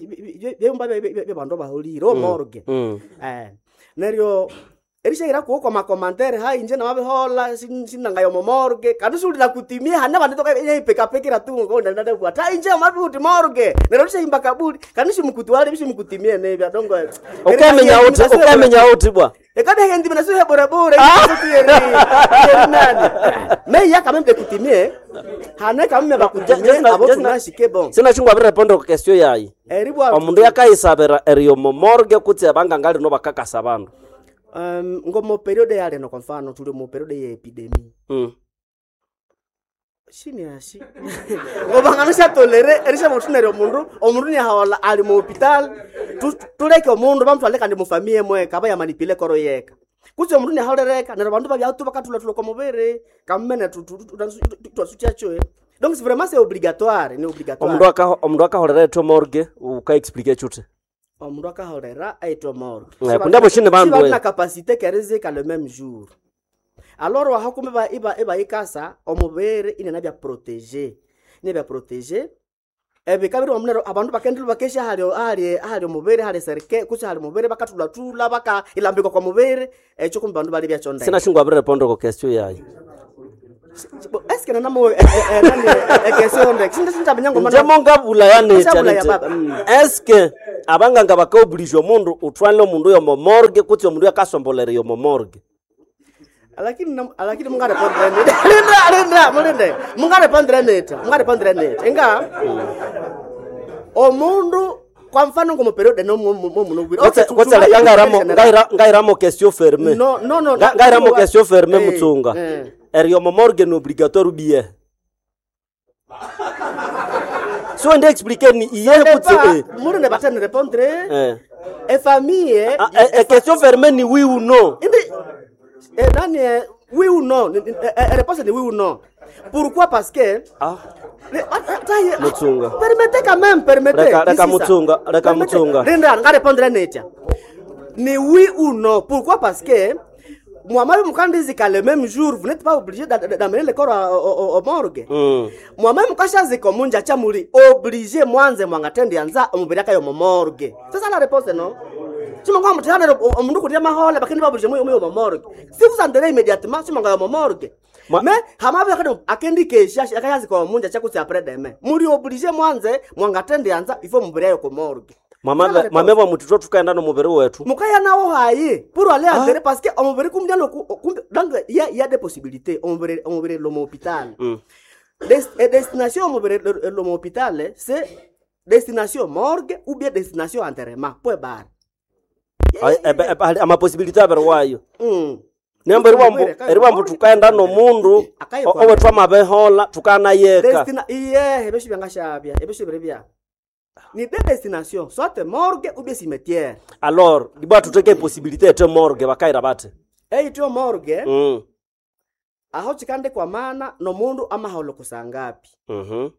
byumba byabandu abaholire omorgue Mm. eh neryo erishahira kuwo kwa makomantere hai inje namabihola sin- sinangayo momorgue kandi sulila kutimia hana bandu toka ipekapekera tu ngondanadabwa ta inje mabihuti morgue neryo rishahimba kabuli kandi simukutuwale bisimukutimie nebya dongo Ukamenya uti ukamenya uti bwa ekade hendi mina suhe bore bore yeri yeri nani me ya quand même de kutimie hana quand même bakutimie abo tunashike bon sinachingwa abireponde ku question yayi eribwa omundu yakaisabira eriyo mo morgue kutse abanganga lino bakakasa abandu um, ngomo periode ya leno kwa mfano tuli mu periode ya epidemie Mm. shini ashi ngoba ngano tolere erisha mutunere omundu omundu nihaola ali mu hospital Tu- tuleke omundu bamutwale kandi mufamiye mweka aba yamanipile koro yeka kutse omundu nihaolereka neryo bandu babyatu bakathulatula kwa mubiri kamene twasutyachoe donc c'est vraiment c'est obligatoire ni omundu obligatoire akaho- omundu akaholera etho morgue ukaexplique chute omundu akaholera aitwa morgue Eh, kundi abo shini bandu, eh. na capacité kerizika le même jour alors waha kumbe ba iba iba ikasa omubiri inena bya protéger ine bya protéger Ebika biri omunero abandu bakendilwa bakesha hali hali hali omubiri hali serike kutse hali mubiri bakathulatula baka ilambikwa kwa mubiri ekyo kumbe bandu bali byakyo ndeke Sinashingwa abire pondo ko question yayi. Eske nanamu ekesyo ndeke sinda sinda ngoma Njemo ngabula yanetya Ngabula ya nete. baba, mm. Eske abanganga bakaoblige omundu utwale omundu yomo morgue kutse omundu yakasombolera yomo morgue. Lakini nam- lakini mungarepondre neta linda linda mulinde mungarepondre neta mungarepondre neta inga omundu kwa mfano ngomu period no muno Kutse kutse ngairamo ngaira ngairamo question ferme. No, no, no, Nga- Ngairamo no, question ferme eh, mutsunga. eh. Eri yomo morgue ni obligatoire bien. So ndi expliquer ni iye kutse eh. Mulinde batene répondre Eh. e famille Ah, eh, eh, question ferme ni oui ou non. Indi eh, nani eh, oui ou non Ni- ni- eh, eh, réponse ni oui ou non. Pourquoi? Parce que Ah. Le- ah, ah, taye, ah, Mutsunga. Permettez quand même, permettez. Reka- reka Ici, ça. Mutsunga, reka Permettez. Mutsunga. Linda, nga répondre netia. Ni oui ou non. Pourquoi? Parce que moi-même, mukandizika le même jour, vous n'êtes pas obligé d'a- d'a- d'amener le corps au, au, au morgue. Mm. Mwamai mukashazika omunja chamuli obligé mwanze mwangatendianza omubiri akayo mu morgue. C'est ça la réponse, non? Simanga mutihane omundu kutia mahole bakindi babulije muyo muyo mu morgue. Si vous enterrez immédiatement, simanga mu morgue. Ma- Mais hamabe akadi akendi kesha akayazika omunja chakuti après demain. Muri obligé mwanze mwangatendianza ifo mubiri ayo ku morgue. Mama C'est ça la réponse. mama wa mutitwa tukaenda no mubiri wetu. Mukaya nawo hayi pour aller enterrer parce que omubiri kumbi kumbi donc il y a il y a des possibilités omubiri omubiri lo hôpital. Mm. Des, eh, destination omubiri lo hôpital c'est destination morgue ou bien destination enterrement point barre. Ai, ebe- ebe- ali- amapossibilité abiri wayo. Mm. Nembo eriwambu eriwambu tukaenda nomundu Akaye o- kwa- owethu amabehola tukanayeka. Destina iye ebesho byangashabya ebesho biri bya. Ni deux destinations, soit morgue ou bien cimetière. Alors, dibwa tuteke possibilité ete morgue bakaira bate. Eityo morgue Mm. aho chikande kwa mana nomundu amaholo kusangapi. Mhm.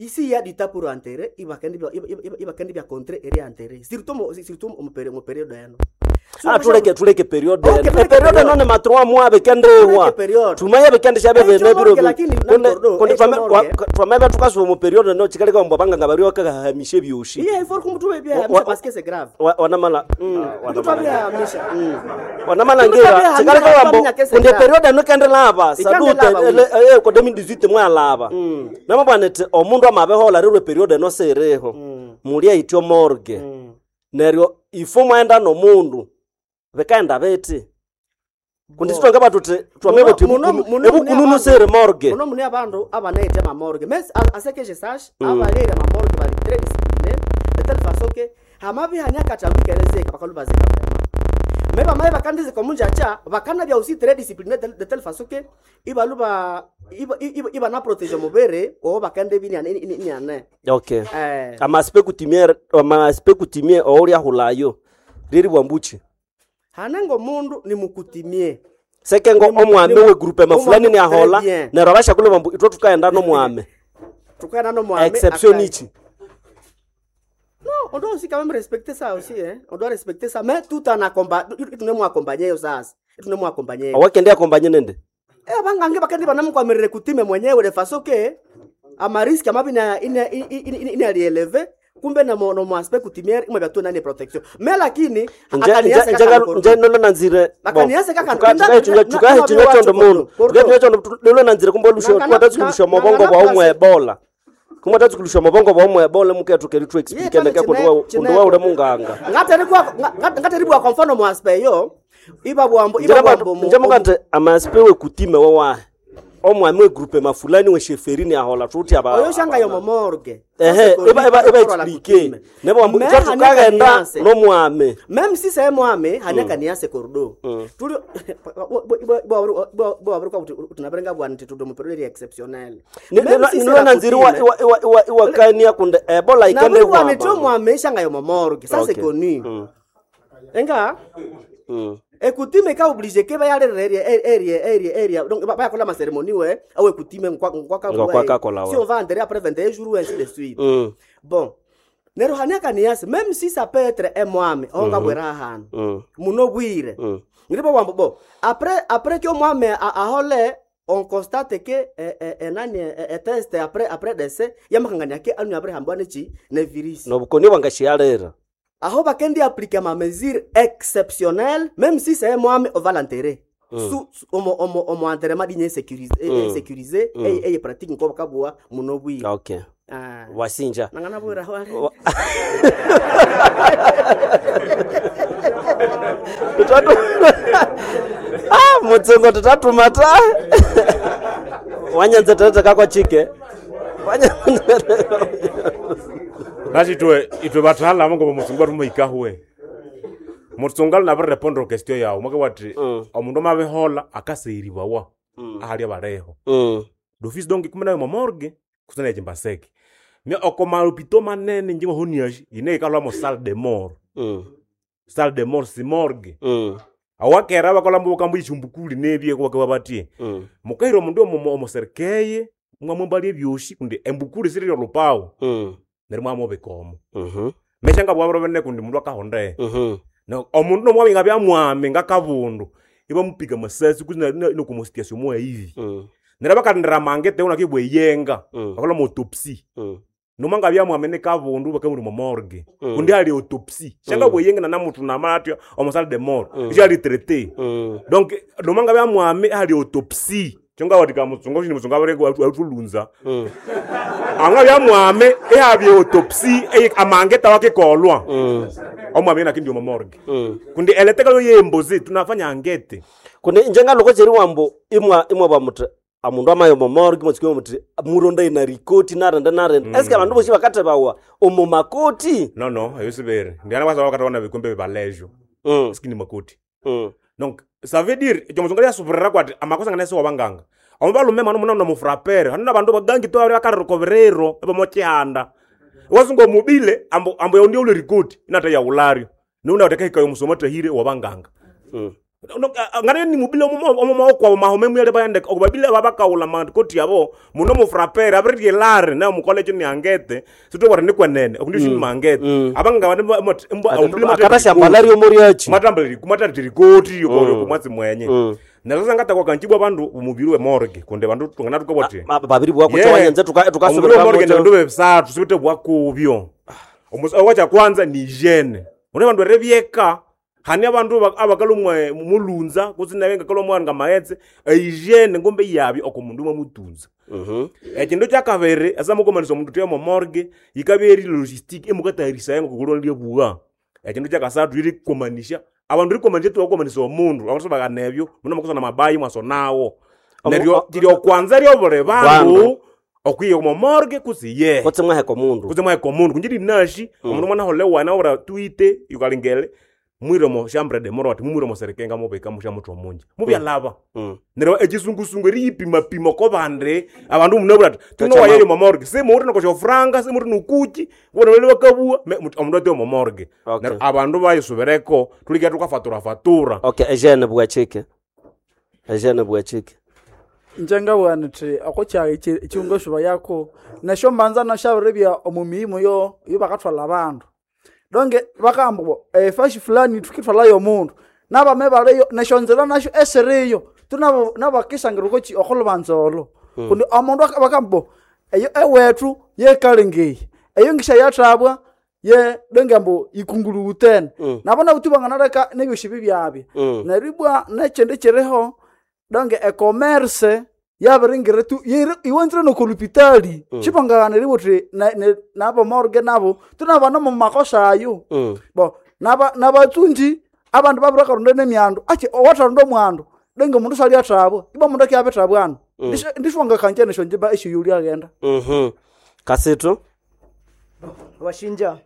Ici il y a du temps pour enterrer, ibakendi bya ibakendi bya contrer et enterrer. Surtout mo surtout mo période mo période eno. Ah tuleke tuleke periode. Okay, E tuleke periode periode. none ma trois mois bekendewa. Tuleke periode. Tumaye bekende shabe Echo bene biro. morgue lakini Konde na konde echo twame morgue. twame tukasuba mu periode no chikaleka mbo banganga bari bakahamishe byoshi. Iye il faut kumtuwe bien Wa- hamisha wa- parce que c'est grave. Wa- Wanamala. Mtu abia hamisha. Mm. Wanamalangira Mtu abia chikaleka hamisha, wambo abia kese kunde grave. periode no kende lava Ikende sadute lava, oui. ele eh ko deux mille dix-huit mwalava. Namabwanete omundu amabehola rirwe periode no sereho. Mulia ityo morgue. Neryo ifo mwaenda nomundu bekaenda beti kundi sitonga batuti twame Muno- buti muno- muno ebukununu mune sere morgue. Muno mune abandu abanaite ma morgue. Mais à, à ce que je sache, abalere ma morgue bali très disciplinés de telle façon que hamabi hanyaka chambikerezeka bakalubazeka vraiment. Mais bamaye bakandize komunjacha bakana bya aussi très discipliné de, de telle façon que ibaluba iba iba, iba na protéger mubere o bakande bini ane ini ane. Okay. Eh. Amaspe kutimie amaspe kutimie oulya hulayo riri bwambuchi Hanengo mundu ni mukutimie. sekengo Ni mu- omwame ni mu- we groupe mafulani omwame- ni ahola très bien. neryo abashakulu bambu itwe tukaenda nomwame Tukana no mwame. exception aka- ichi Non, on doit aussi quand même respecter ça aussi, hein. On doit respecter ça, mais tout en accompagnant, tout ne accompagner sasa. Tout ne accompagner. awakende akombanye nende Eh bangange bakandi banamukwamirire kutime mwenyewe de façon que ama risque amabi ina ina ina ina alieleve kumbe na mo no mo aspect kutimiere imwe byatu nani protection. Mais lakini nje nje akaniasa nje kaka nje nolo nanzire Bakaniasa kaka- nda- tukahichinya na- na- chondo mundu Kordo. tukahichinya chondo lolo nanzire kumbe lusho Nangana- twatatsikulusha na- mobongo nangana bwa umwe plus- ebola kumwe tatsukulusha mobongo bwa umwe ebola muketu keri tu explique Ye, ndeke chine- kundi wa chine- kundi wa ule munganga ngateribwa ngateribwa kwa mfano mo aspect yo iba bwambo iba bwambo mu- nje mukante amaspe we kutime wa omwami we groupe mafulani we sheferini ahola tuti aba oyo shanga yo momorgue. ehe iba iba iba explique nebo ambu Mais tukagenda hanyaka nomwame même si c'est mwame hanyaka mm. niase kordo mm. tuli bwa kuti tunaberenga bwana titudo mu periode exceptionnel nilo nanziri iwa iwa iwa iwakania kunde ebola ikende bwana tyo mwame shanga yo momorgue ça c'est Okay. connu Mm. enga Mm. ekutime ka obligé ke bayalere area area area area donc bayakola ma cérémonie we awe ekutime ngwa ngwa Ngwa kwa kakola we. si on va enterrer après vingt et un jours ou ainsi de suite Mm. bon nero hanyaka niase même si ça peut être un mwame onga bwera hano Mm. muno bwire Mm. ngiribo wambo bo après après que omwame a- ahole On constate que eh, eh, enani eh, eh, test après après décès yamakangania ke anu abrahambwa nechi ne virus nobukoni bwangashialira aho bakendi appliquer ma mesure exceptionnelle même si c'est moi on va l'enterrer Mm. su su- omo omo omo enterrement digne sécurisé Mm. sécurisé Mm. eye eye pratique nko bakabua muno bwi okay ah wasinja nangana bwira wale Wa- Tutatu ah mutsungo tutatumata wanyanza tata kakwa chike Nasi itwe itwe bathala ngo mutsungu atumuhikahwe mutsungu ali nabirepondera question yawu mwake wati omundu amabihola akaseyiribawa ahali abaleho Mm. d'office donc kumena yo morgue kusana echimbaseke mia okomalopito manene njingo honiashi ine ikalwa mo salle de mort Mm. salle de mort si morgue Mm. awakera bakola mbo kambu ichumbukuli nebye kwake babatie Mm. mukaira omundu omo omoserikeye mwamwambalia ebyoshi kundi embukuli siri lolupawu Mm. neryo mwamubika omo Mhm. meshanga bwabiro bene kundi mundu akahonde Mhm. na omundu nomwami nga byamwami ngakabundu ibamupiga masasi kuzi nokumositiasio moaivi Mm. neryo bakalindira mangete unake bweyenga Mm. bakola autopsy Mm. noma nga byamwami ni kabundu bakamuri mo morgue Mm. kundi ali autopsy shanga Mm. bweyenga na namutu namatya omo salle de mort Mm. isho ali traité Mm. donc noma nga byamwami ali autopsy kyonga watika mutsunga ushini mutsunga abere atulunza Mm. anga byamwami ehabye autopsy eye- amangeta wakikolwa Mm. omwami nakindi omo morgue Mm. kundi eleteka yembozi tunafanya angete kundi njengaloko cheri wambo imwa imwa bamuthi amundu amayo momorgue mwatsukiwa muthi muronda ina rikoti narende narende mm. eske abandu bosi bakatebawa omu makoti no no eyo sibere ndiana kwasa wakataona vikombe bibalejo mm. sikini makoti mm. donc ça veut dire ekyo muzungu lyasubirira kwati amakosa ngane siwabanganga omo balume mano muna nomufrapere hanu nabandu bagangi to bakarikoberero ebamokihanda wasunga omubile ambo ambo yondio ule rikoti inata yaulario niuna utakahika yomusoma tahire wabanganga Mm. ngane ni mubile omomaokwabo mahome muyale bayandeka okubabile babakaula makoti yabo muno mufrapere abiriryelare na mukolecho ni angete sitobwara ni kwenene okundi mm. mangete Mm. abanganga akatashambalaryo moriachi mwatambalirikoti Mm. kumwatsi mwenye Mm. na sasa ngatakwaka nchibwa bandu umubiri we morgue kunde bandu tungana tukabwati Ma- babiri bwako chawanyanza omubiri tukasubira we morgue ndio bebisathu sibite bwakubyo owacha kwanza ni hygiene une bandu erebyeka hani abandu ba- abakalumwa mulunza kutsi nawe ngakalumwa nga maghetse ehygiene ngombe yabyo oko mundu mwamutunza ekindu kyakabiri esamukomanisa omundu tuya momorgue yikabya eri logistic emukatayarisaya ngokukulwa bua ekindu kyakasathu irikomanisha abandu rikomanisha tuwakomanisa omundu abandu sibakana ebyo muno makusana mabayi mwasonawo Omu- neryo o- liryo kwanza ryobuli Bandu. bandu okwiya omomorgue kutsi ye kutsi mwaheka omundu kutse mwaheka omundu kunjiri nashi omundu mwana wana ora tuite yukalingele mwire mo chambre de mort mumwire mo serekenga mubika musha muthu omunji mubyalaba Mm. neryo echisungusungu eriyipimapima ko bandi abandu munabura ati tuno Tacha wayeri momorgue simuuri nokosho franga simuuri nukuchi bona bali bakabua me- mut- omundu ate momorgue Okay. neryo abandu bayisubereko tulikia tukafatura fatura okay ejene bwachike ejene bwachike njenga nthi okukyaga ekiunga shuba yako nesyo mbanza nashabiribya omu miyimo yo yo bakathwala abandu donge bakamba bo efashi fulani tukithwalayo omundu nabame baliyo nesyo nzira nasyo esiriyo tunabo nabakisangira okoki okhulubanza olo kundi omundu aka- bakamba bo eyo ewethu yekalengeyi eyo ngisha yathabwa ye donge ambu ikunguluwutene Mm. nabo nabutu banganaleka nebyosi bibyabya Mm. neryo ibwa nekyindi kyiriho donge ecommerce yabiringira tu yiri- iwanzire nokolupitali Mm. shibangaghanira uthi nabo morgue nabo tunabana mumakosa ayo Mm. bo naba nabatsunji abandu babirakaronda nemyandu achi owatharonda omwandu donge omundu saliathabwa iba mundu akiabithabwa ano Mm. ndishwangakanja nesyo njimba esiyuli aghenda Mhm. kasitu washinja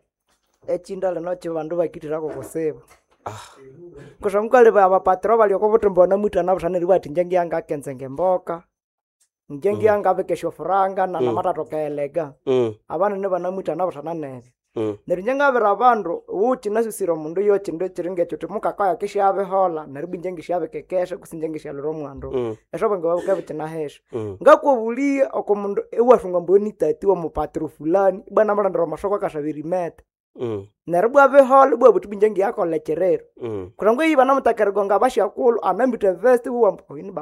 echinda lino chibandu bakitirako kusiba kusha mukali abapatiro bali oko buthumba banamwithana buthana eribugha ati inje ngiyangakenza ngemboka inje ngiyangabika esyofuranga nanamathathoka elega Mm. abanene banamwithana buthana nebyo Mm. neryo inje ngabira abandu wuki nasusire omundu yo kindu ekiri ngekyo uthi mukakaya kisyabihola neryo ibwa inje ngisyabikekesha kutse inje ngisyalhura omwandu Mm. esyobwenge bwabuka bukinahesha Mm. ngakwabuliya oko mundu iwathunga ambu nitati womupatiro fulani ibwa namalhandira amasoko akashabira imete Mm. Neryo bwa bihola bwa buthi bunje ngiyakola ekiriro. Mm. Kurangwa iyi banamutakerigonga abashakulhu anambitha vest wuwamba oyini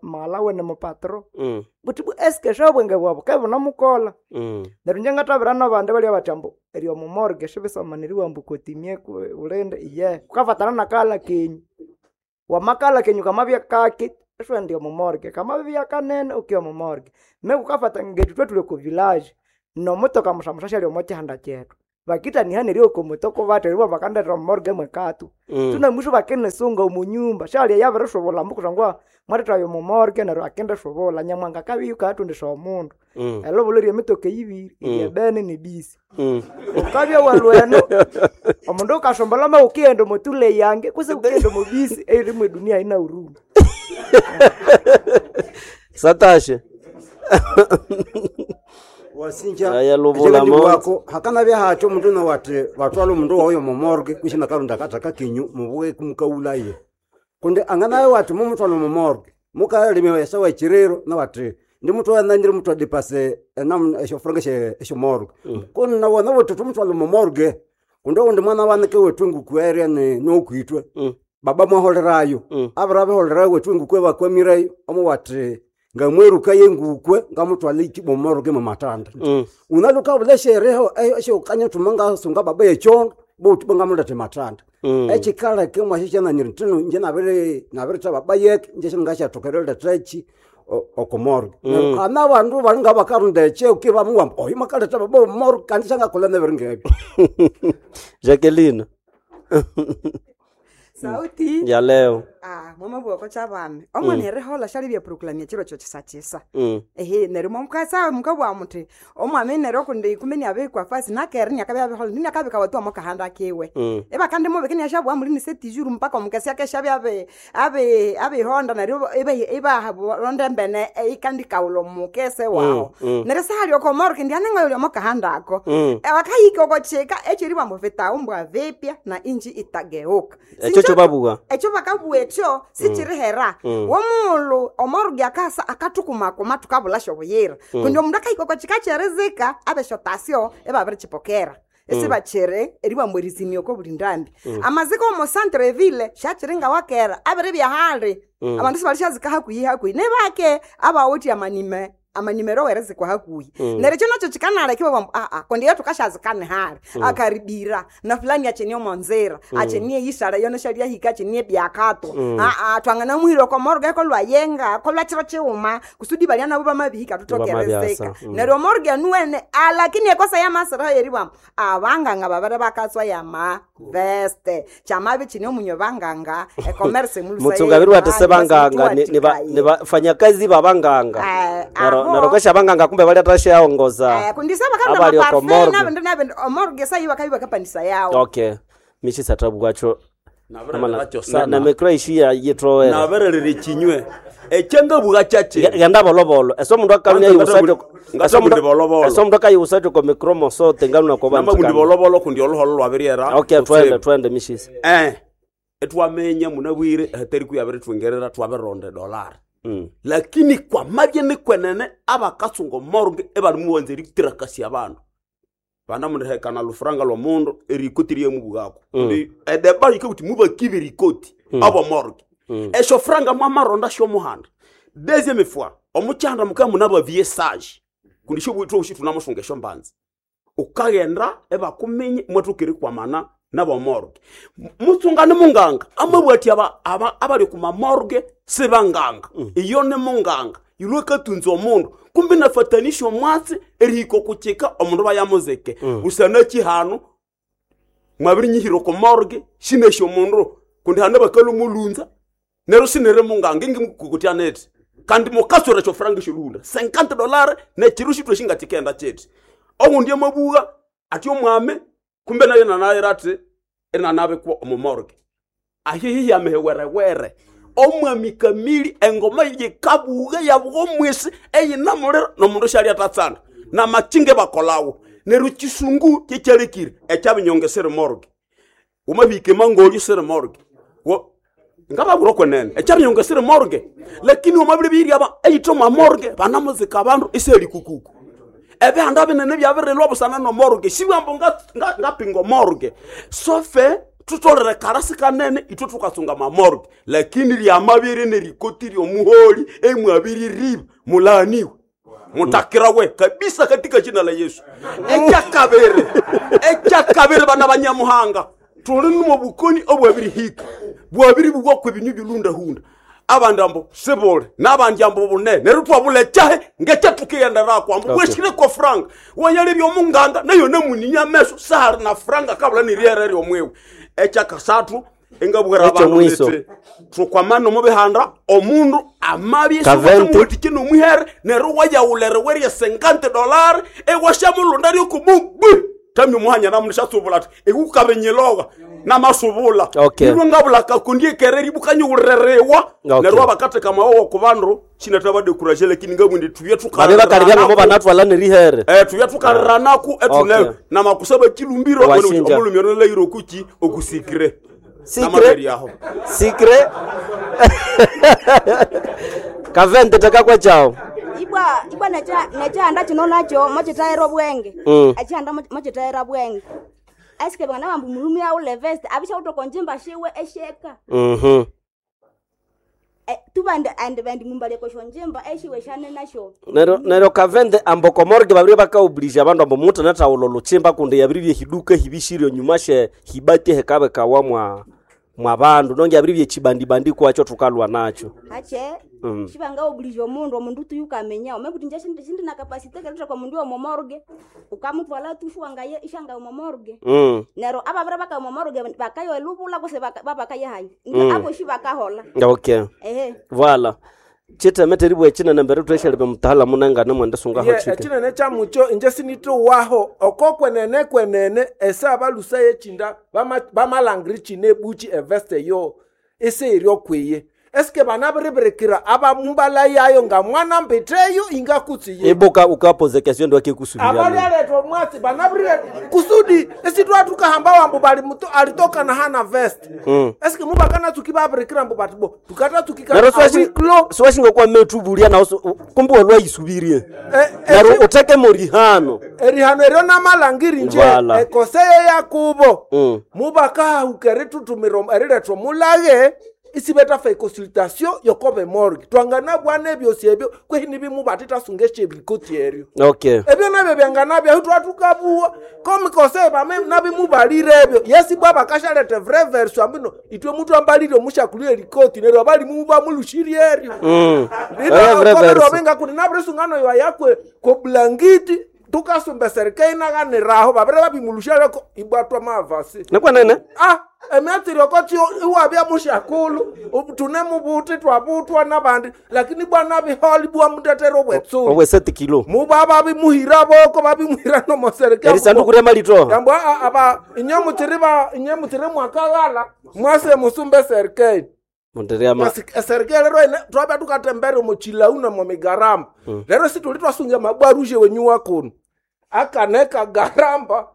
mala wene mupatro. Mm. Buthi bu eske shabwenge bwabo kebunamukola. Mm. Neryo inje ngathabira nabandi balya bathi ambu eri omu morgue sibisamaniriwa ambu kotimie ulinde iye kukafatana nakala kenyu. Wamakala kenyu kamabya kaki isiwendi omu morgue, kamabya kanene ukiya omu morgue. Me kukafata ngethu ithwe thuli oko village nomutoka musamusa syali omo kihanda kyethu. Bakitaniha neryo oko mutoko bathi eribwa bakandetera omu morgue mwekatu. Mm. Tunamwisho bakinisunga omu nyumba syalya yabirishubula ambu kusangwa mwathethayo omu morgue neryo akindishubula nyamwanga akabya yukayatundisha omundu. Mm. Elobolo ryemitoka eyibiri Mm. eryebene nebisi. Mm. Ukabya walweno omundu ukasombola ma ukighenda omotule yange kutse ukighenda omobisi eyiri edunia yina huruma. Satashe. Wasinja Aya lubula mo. wako hakanabya hacho omundu nowati batwala omundu wayo momorgue kwisi nakalonda akathaka kenyu mubuke kumukaulaye kundi anganaye wati mumuthwala omomorgue mukalima esawa ekiriro nawati ndimutwala nandiri muthu adipase enamu esyofuranga esyomorgue kuni nawona wuthi thumuthwala omomorgue kundi owundi mwana wanike wethu enguku eria ni- nokwitwe baba mwaholerayo abiri abiholerayo wethu engukwe bakwamireyo omuwati ngamweruka yengukwe ngamutwala iki momorgue mumatanda unaluka eshereho esyokanya thuma ngasunga baba yechondo bouthi bangamuletha matanda Mm. ekikaleka mwashishananyiri ntino nje nabiri nabiritha baba yeke nje singashathoka eriletha eki okomorgue Mm. kana abandu bali ngabakarunda ekyo kibamuwamba oyo makaletha baba omorgue kandi syangakolha nebiri ngebyo Jacqueline. Sauti Ya leo. Ah, mwamabwoko kyabami omwana Mm. erihola syalibya proclamia chiro kyo kisakisa Mm. ehe neryo mwamukasa mukabugha muthi omwami neryo kundi ikumi niabikwa fasi nakere niakabya abihola ndiniakabika watu omukahanda kiwe Mm. ibakandi mubike niashabugha muli nisetijuru mpaka omukesi akesha abya abi abi abihonda neryo iba- ibaronda embene ikandikaula omukese wawo Mm, mm. neryo sahali okomoro kendi anengayolya omukahanda ako Mm. wakahika okochika echiri bwambu vitaumbwa vipya na inji itageuka Ekyo kyo babuga. ekyo bakabuwa ekyo sichirihera Mm. womulu omorugi akasa akathukumakuma thukabulhasya obuyira Mm. kundi omundu akahika oko kika kyerizika abesyotasyo ibabirikyipokera esibakiri eribwambu erizimya oko buli ndambi Mm. amazika omo centre ville syakiri ngawakera abiribya hali Mm. abandu sibalishyazika hakuhi hakuhi nibake abawithe amanime amanimero werizikwa hakuhi Mm. neryo ekyo nakyo kikanaleka ibabwambu aa kundi iyo thukashazikane hali Mm. akaribira na fulani achenie omonzira Mm. achenie yisala yono shalyahika achenie byakatwa Mm. aa twanganamuhira okomorga kolwayenga kolwachiro chiuma kusudi balya nabo bamabihika tutokerezeka Bamabyasa, mm. neryo omorga nuwene alakini ekosa yamasiraho yeribwamu abanganga babere bakatswa yama veste chamabi chine omunyo banganga ecomerce Mutsunga biri wati sebanganga ni ni ba- ni bafanyakazi babanganga. Eh, Nero aho. nero kwesha banganga kumbe bali atashaongoza. kundisa Abali oko morgue. bakanamaparfe nabindu omorga sayi bakabi bakapanisa yawo Okay. Mishi satabugwacho. Nabirererakyo sana. Na mikro ishiya yitowera. Nabererera ekinywe ekyangabugha kyakye Genda bolobolo. Eso mundu akalunya Kwanza yusacho. ngata- Eso mundu ngata bolobolo. Eso mundu akayiusacho ko mikro mosote ngaluna ko namabundi bolobolo kundi oluholo lwabiryera Okay, twende twende mishisi. eh etwamenya munabwire hatari kuyabirithwingerera twabironda edolari Mm. lakini kwamabye nikwenene abakasunga morgue ebalimuwanza eritirakasya abandu banamundihekana lufuranga lwomundu erikoti ryemubugako Mm. edeba yikabuti mubakibe erikoti Mm. abo morgue Mm. esyo franga mwamaronda syomuhanda deuxième fois omukyanda mukaya munabavie sage kundi syobwithu obushi thunamusunga esyombanza ukaghenda ebakuminye mwathuka erikwamana nabomorgue mutsunga ni munganga amabwati aba, aba, abali kumamorgue sibanganga iyo ni munganga ilwe katunza omundu kumbi nafatanisha omwatsi erihika okukyika omundu bayamuzike Mm. busana kihanu mwabirinyihira okumorgue sinesya omundu kundi hane bakalumulunza neryo sinere munganga ingimukukutya neti kandi mukaswera esyofuranga esyoluhunda cinquante dollar nekiru shitwe shingatikenda kyeti owundi amabugha ati omwami kumbe nayo nanayira ati inanabikwa omumorgue ahihihi amihiwerewere omwami kamili engoma yikabuga yabuga omwisi eyinamuliro nomundu syali atatsanda namakinge bakolawo neryo kisungu kyekyalekire ekyabinyonge siri morgue wamabika emangolyo siri morgue Wo- ngababwira okwenene ekyabinyonge siri morgue lakini wamabire biryaba eyithe omwa morgue banamuzika abandu iseli kukuku Ebihanda binene byabirilwa busana nomorgue sibwambo ngapinga omorgue sofe tutolere karasi kanene itwe tukasunga mamorgue lakini lyamabiri nerikoti lyomuholi emwabiririba mulaaniwe mutakirawe kabisa katika jina la Yesu. Ekyakabiri ekyakabiri bana banyamuhanga tuli numo bukoni obwabirihika bwabiri bugwako ebinyu bilundahunda abandi ambo sibule n'abandi ambo bunene neryo twabula ekyahe ngekyatukighenderako ambo Okay. bweshireko franga wanyalebya omunganga nayo namuninya ameso sahali na franga kabula niriere ryomwiwe. Ekyakasathu engabwera Ekyo abandu mwiso. niti tukwamana omu bihanda omundu amabye Kavente. siwatike nomuhere neryo wayawulere werye sengante dolari ewashamulunda ryokumugwi tami muhanya namunishatsubula ati ikukabenyiloga namasubula Okay. ilwe ngabula kakundi ekereri bukanyuwurerewa Okay. neryo abakatheka mawowo ku bandu shinathabadekuraje lakini ngabwindi tubye babe bakalibya banatwala nerihere Eh, tubye tukaliranaku etune Okay. namakusaba chilumbiro Washinja. omulumi ono lairo okuki okusikire Sikire. Namabere aho sikre kavente takakwa chao ibwa ibwa necha nechihanda chino nacho mochitayira obwenge Mm. echihanda mo- mochitayira bwenge asike bangana bambu mulumi aule vest abishautoka njimba shiwe esheka Mhm. Eh, tubandi andi bandi mumbaleko shonjimba eshiwe shane nasho neryo neryo kavende ambo komorge babiri bakaoblige abandu ambo mutu natawulo luchimba kundi yabiri byehiduka hibishiryo nyuma she hibati hekabekawa mwa mwa bandu nonge yabiri byechibandibandi kwacho tukalwa nacho hache Mm. shibanga oblige omundu omundu tuyukamenya omekuti nje shindi shindi na capacity keluta kwa mundu omomorge ukamutwala tushuwangaye ishanga omomorge Mm. nero ababira baka omomorge bakayo elubula kuse babakaye Mm. abo shi bakahola okay ehe vala chitemete bwe chinene mbere tweshelebe mutaalamu nengane mwende sungaho Ye, chike ekinene kyamucho inje sinithuwaho oko kwenene kwenene ese abalusa yechinda bama- bamalangiri chine ebuchi eveste yo ese okwiye esike banabiribirikira abamumbala yayo nga mwana mbiteyo ingakutsiye ibuka ukapoze kesyo ndo akikusubiria abalyaletwa omwatsi banabirire kusudi esitwatukahamba wambu bali muto alitoka na hana vest Mm. esike mubakanatsuki babirikira mbu bati bo tukatatsukika Nero swashinga kwa metu bulia na kumbe walwaisubirie nero uteke morihano erihano eryo namalangiri nje Vala. ekoseye yakubo Mm. mubakahuka eritutumira eriletwa mulage isibetafa econsultation yokobe morgue twanganabwana ebyosi ebyo kwehi nibimu bati tasunga esyebikoti eryo okay ebyo nabyo byanganabya twatukabuwa komikose bame nabimubalire ebyo yesi bwa bakashaleta vrai version ambino itwe mutu ambalire omushakulire erikoti neryo abalimu bamulushirie eryo Mm. Eh, vrai version. linovenga kuti navirisungano yowa yakwe koblangiti tukasumba serikali inaganiraho vavire vavimulushaleko ibwatwa mavasi nikwenene ah emyatsiriokotio iwavya mushakulu tune muvuti twavutwa navandi lakini bwana viholi bwa mutetero obwetsuli obweseti kilo muva vavimuhira voko vavimuhira nomoserikali erisanduku rya malitoha yambwa a- ava inye mutsiri va inye mutsiri mwakaghala mwase musumbe serikali mundiryama eserikali lero ene twabya tukatembere muchilauna momigaramba Mm. lero situli twasunga mabwarushe wenyuwa kuno akaneka garamba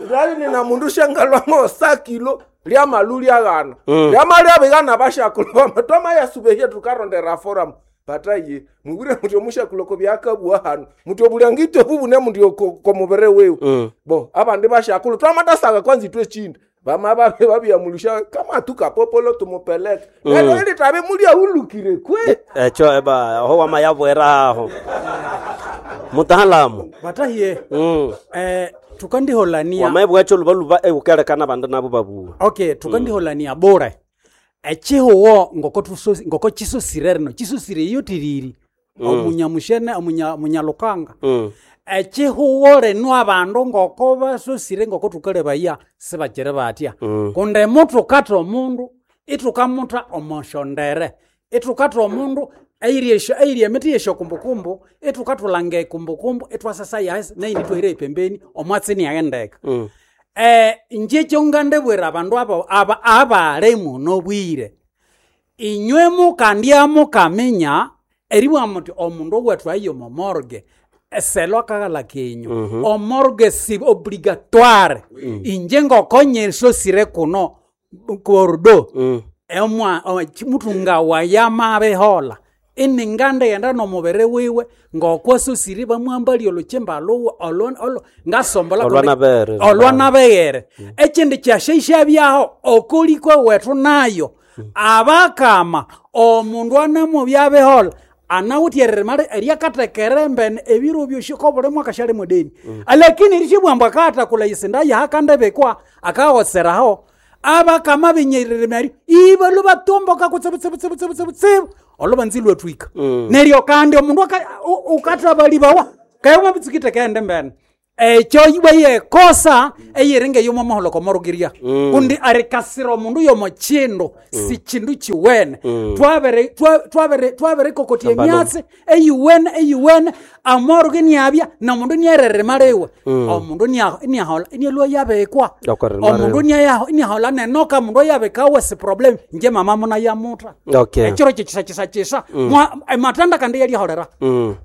lali nina mundu shengalwa mosakilo lyamalu lyaghana Mm. lyama lyabigana bashakulo bama twamayasubehye tukarondera forum bataye mubwire muti omushakulo kobyakabwa hano muti obulangiti obubune mundi komubere wewe Mm. bo abandi bashakulu twamatasaka kwanza itwe chinda bama babe babiyamulusha kama tukapopolo tumupeleke Mm. lero ili tabe mulyaulukire kwe echo eba ho wamayabwera aho mutaalamu batahiye mm. eh, tukandiholania wamaebwacho lubaluba eukelekana bandu nabo babuwa okay tukandiholania bure echihuwo ngoko tuso- ngoko chisosire rino chisosire iyo tiriri Mm. omunyamushene omunya- omunyalukanga Mm. echihuwo rino abandu ngoko basosire ngoko tukalebaya sibakiri batya Mm. kundi mutukata omundu itukamuta omoshondere itukata omundu eyiri esyo- eyiri emiti yesyokumbukumbu itukatulanga ekumbukumbu itwasasa yasi naini twahira epembeni omwatsi niaghendeka Mm. eh nje kyongandebwera abandu abo aba abale muno bwire inywe mukandya mukaminya eribwa muti omundu owethu aye omo morgue eselo akaghala kenyu Mhm. omorgue si obligatoire Mm. inje ngokonyesosire kuno kordo Mm. emwa o- chi- mutunga wayamabehola Ininganda yenda nomubiri wiwe ngokwasosire bamwambalia oluchimba luwe olo olo ngasombola Olwanabere. olwanabeghere ekindi kyashaishabyaho okolikwa wethu nayo abakama omundu anamubyabihola anawithe eririma eryakathekera embene ebiro byosi kobuli mwaka syali mudeni lakini erishibwambu akaghathakula isinda yahakandibikwa akaghoseraho abakama binyiririma eryo ibalwa batomboka kutsibutsibutsibutsibutsibu olubanza ilwathwika neryo kandi omundu aka- u- ukathabalibawa kaye wabitsikite kende mbene ekyo ibayekosa eyiringa eyomo muholoko morugiria Mm. kundi arikasira omundu yomo kindu si kindu kiwene Mm. twabere twa- twabere twaberikokotia Ambalo. emyatsi eyiwene eyiwene amoruge niabya nomundu niererima liwe Mm. omundu nia- niahola inialwa yabikwa Okorerima omundu liwe. niaya- niahola nenoka mundu ayabikawe si problem nje mama muna yamuta Okay. ekiro kyekisakisakisa Mm. ematanda kandi yaliholera Mm.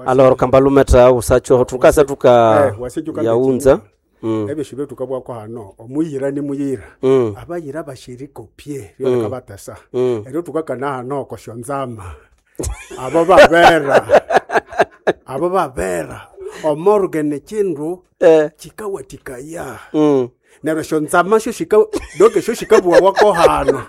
Alors kambalumeta usacho tukasa tuka Eh, wasijuka yaunza Mm. ebyo shibyo tukabwako hano omuyira ni muyira Mm. abayira bashirikopye Mm. ryoleka batesa Mm. eryo tukakana hano koshonzama abo babera abo babera omorge ni kindu chikawatikaya Mm. neryo shonzama sho shika doke sho shikabuwawako hano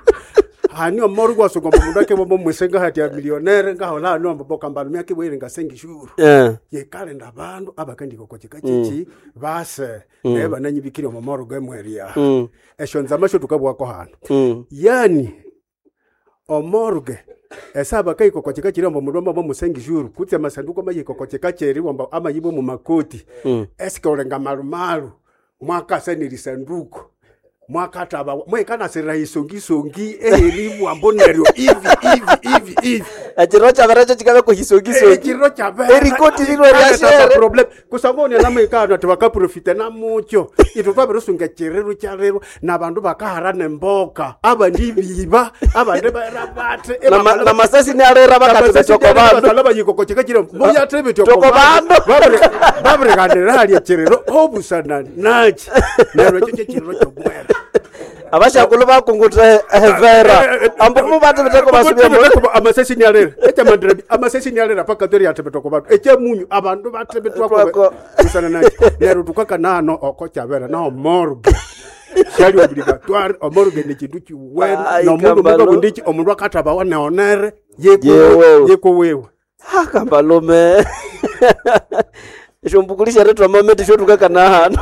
hani omorge wasuka omundu akebomba omwisenga hati ya millionaire ngahola hano ambobokambala myakibwire ngasengishuru Eh. yekalinda abandu abakandikokokika chichi base Mm. naye bananyibikire omomorgo emweria Mm. esyo nzama syo tukabwako hano Mm. yani omorge esaba kaikokokika chiri ombo mundu amaba musengishuru kutse amasanduku amayikokokika cheri wamba amayibwe mumakoti Mm. esikolenga malumalu mwakasa nelisanduku mwakataba mwekanasirira isongisongi eheribwambo neryo ivi ivi ivi ivi Ekiro kyabera kyo kikabe kuhisongisongi ekiro kyabera Erikoti lirwe ryashere. problem kusangoni namaikano ati vakaprofita namucho itwe twavirisunga chirero kyarero na vandu vakahara nemboka avandi viva avandi vaera vate Na ma- na masasi niarera vakati betoko bandu. bayikoko chikachiro muyate Toko bandu. vavirikanira halya chirero obusana nachi neryo ekyo kyechirero kyomwera Abashakulu bakunguta ehevera ambu mubate beteko basubya mu amasesi niarera ekyamandira amasesi niarera paka tori yatebetwa bandu ekyemunyu abandu batebetwako busana nachi neryo tukakanano oko kyabera naho morgue syali obligatoire omorgue ni kindu kiwene Ai, nomundu Kambalo. mukabundiki omundu akathabawa neonere Yewewe. yekuwiwe Kambalume esyo retwa mamete syotukakana hano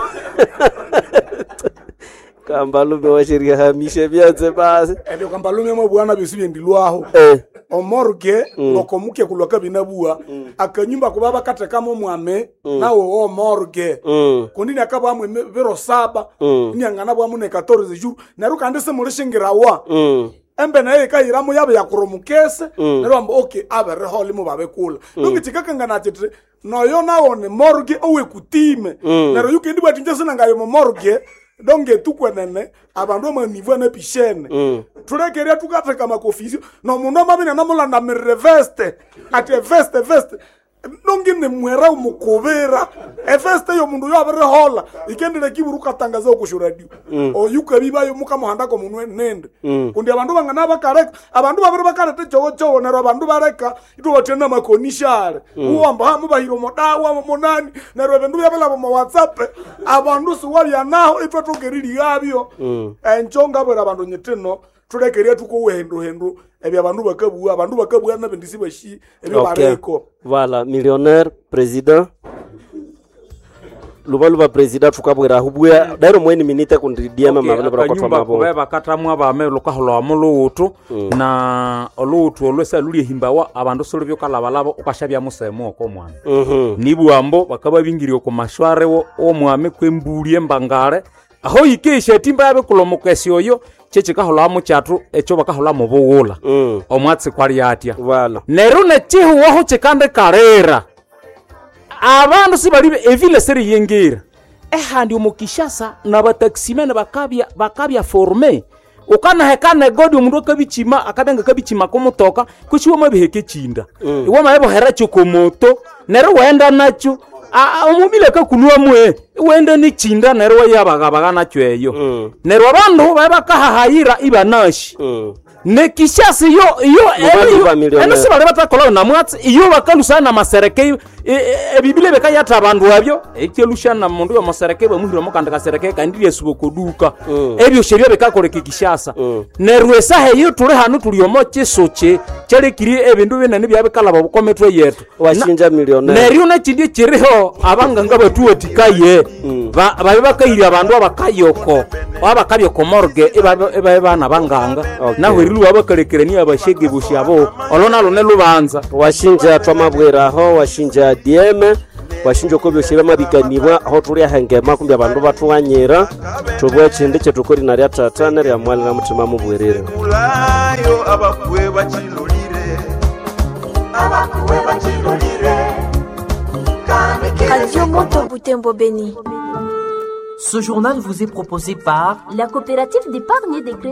Kambalume washeria hamishe byanze basi ebyo kambalume mwe bwana byosi byendilwaho Eh. omorge Mm. ngokomuke kulwa kabinabua akanyumba kuba bakathekamo mwame Mm. nawe omorge Mm. kundi niakabwamwe biro saba Mm. niangana bwamu ne quatorze jours neryo kandi simulishingirawa Mm. embe nayo ikayiramo yabe yakuromukese Mm. neryo bamba okay aberehole mubabekula Mm. nongi chikakangana chiti noyo nawo ni morgue owekutime Mm. neryo yukendi bwati nje sinangayo mu morgue donge tukwenene abandu amanivu anapishene Mm. thulekeria tukatheka makofisi nomundu amabine namulandamirire veste ati eveste veste nongi nimwera umukubira efeste yomundu yoabirihola ikendile kiburu ukatangaza okushuradio Mm. oyukabibayo mukamuhandako munwe nende Mm. kundi abandu bangana bakaleka abandu babiri bakaleta echowochowo neryo abandu baleka itubatya namakonishale Mm. uwamba ha mubahira omodawa omonani neryo ebindu byabilaba omo whatsapp abandu siwabyanaho itwathokerilihabyo Mm. encho ngabwera abandu nyitino thulekeria thukowa hinduhindu ebyo abandu bakabuwa abandu bakabuwa nabindi sibashi ebyo Okay. bariko Voilà, millionnaire, président. Luba luba président tukabwera hubwe dairo mweni minite kundi diema mabele bra kwatwa akanyumba mabo. kube bakatamwa abame lukaholwa muluwutu na oluwutu olwesa lulyehimbawa abandu sulu byokalabalaba ukashabya musemu oko omwami Mhm. nibwambo bakaba bingirye oku mashware wo- w'omwami kwembuli embangale aho yike esyatimba yabikulha omukesi oyo kyekikaholhamu kyathu ekyo bakaholhamu bughula omwatsi kwali atya neryo nekihuwaho kikandikalira abandu sibali evile siriyingira ehandi omu kishasa nabatakisimene bakabya bakabya forme ukanahekana egodi omundu akabichima akabya ngakabichima komutoka kuchi wamabiheka echinda Mm. iwamabibohera kyokomoto neryo waghenda nakyo omubili akakulwamwe Iwende nichinda neryo wayabagabaga nakyo eyo. Neryo abandu babe bakahahayira ibanashi. Nekishasi iyo iyo Mubandu ba millionaire. eno sibali batakola namwatsi iyo bakalusana namasereke ebibile bekayatha abandu abyo ekyelushana mundu yomosereke bamuhira omukandi kasereke kandi lyesuba okoduka ebyosi ebyo bikakoleka ekishasa neryo esaha eyo tuli hanu tuli omo kisuki kyalekire ebindu binene byabikalaba obukometwe yetu Washinja millionaire. neryo nekindi ekiriho abanganga batuwatikaye ba- babe bakahirya abandu abakayoko abakabya okomorge ibabe bana banganga naho eriluwa bakalekerania abashege bosi abo olo nalo nelubanza washinja twamabwiraho washinja dm washinja oko byosi byamabikanibwa aho tulyahengema kumbi abandu bathughanyira thubwa ekindi kyetukori narya tata nerya mwana na muthima mubwirire Kulayo abakuwe bachilolire abakuwe bachilolire Radio Moto Butembo Béni. Ce journal vous est proposé par La coopérative d'épargne et de crédit.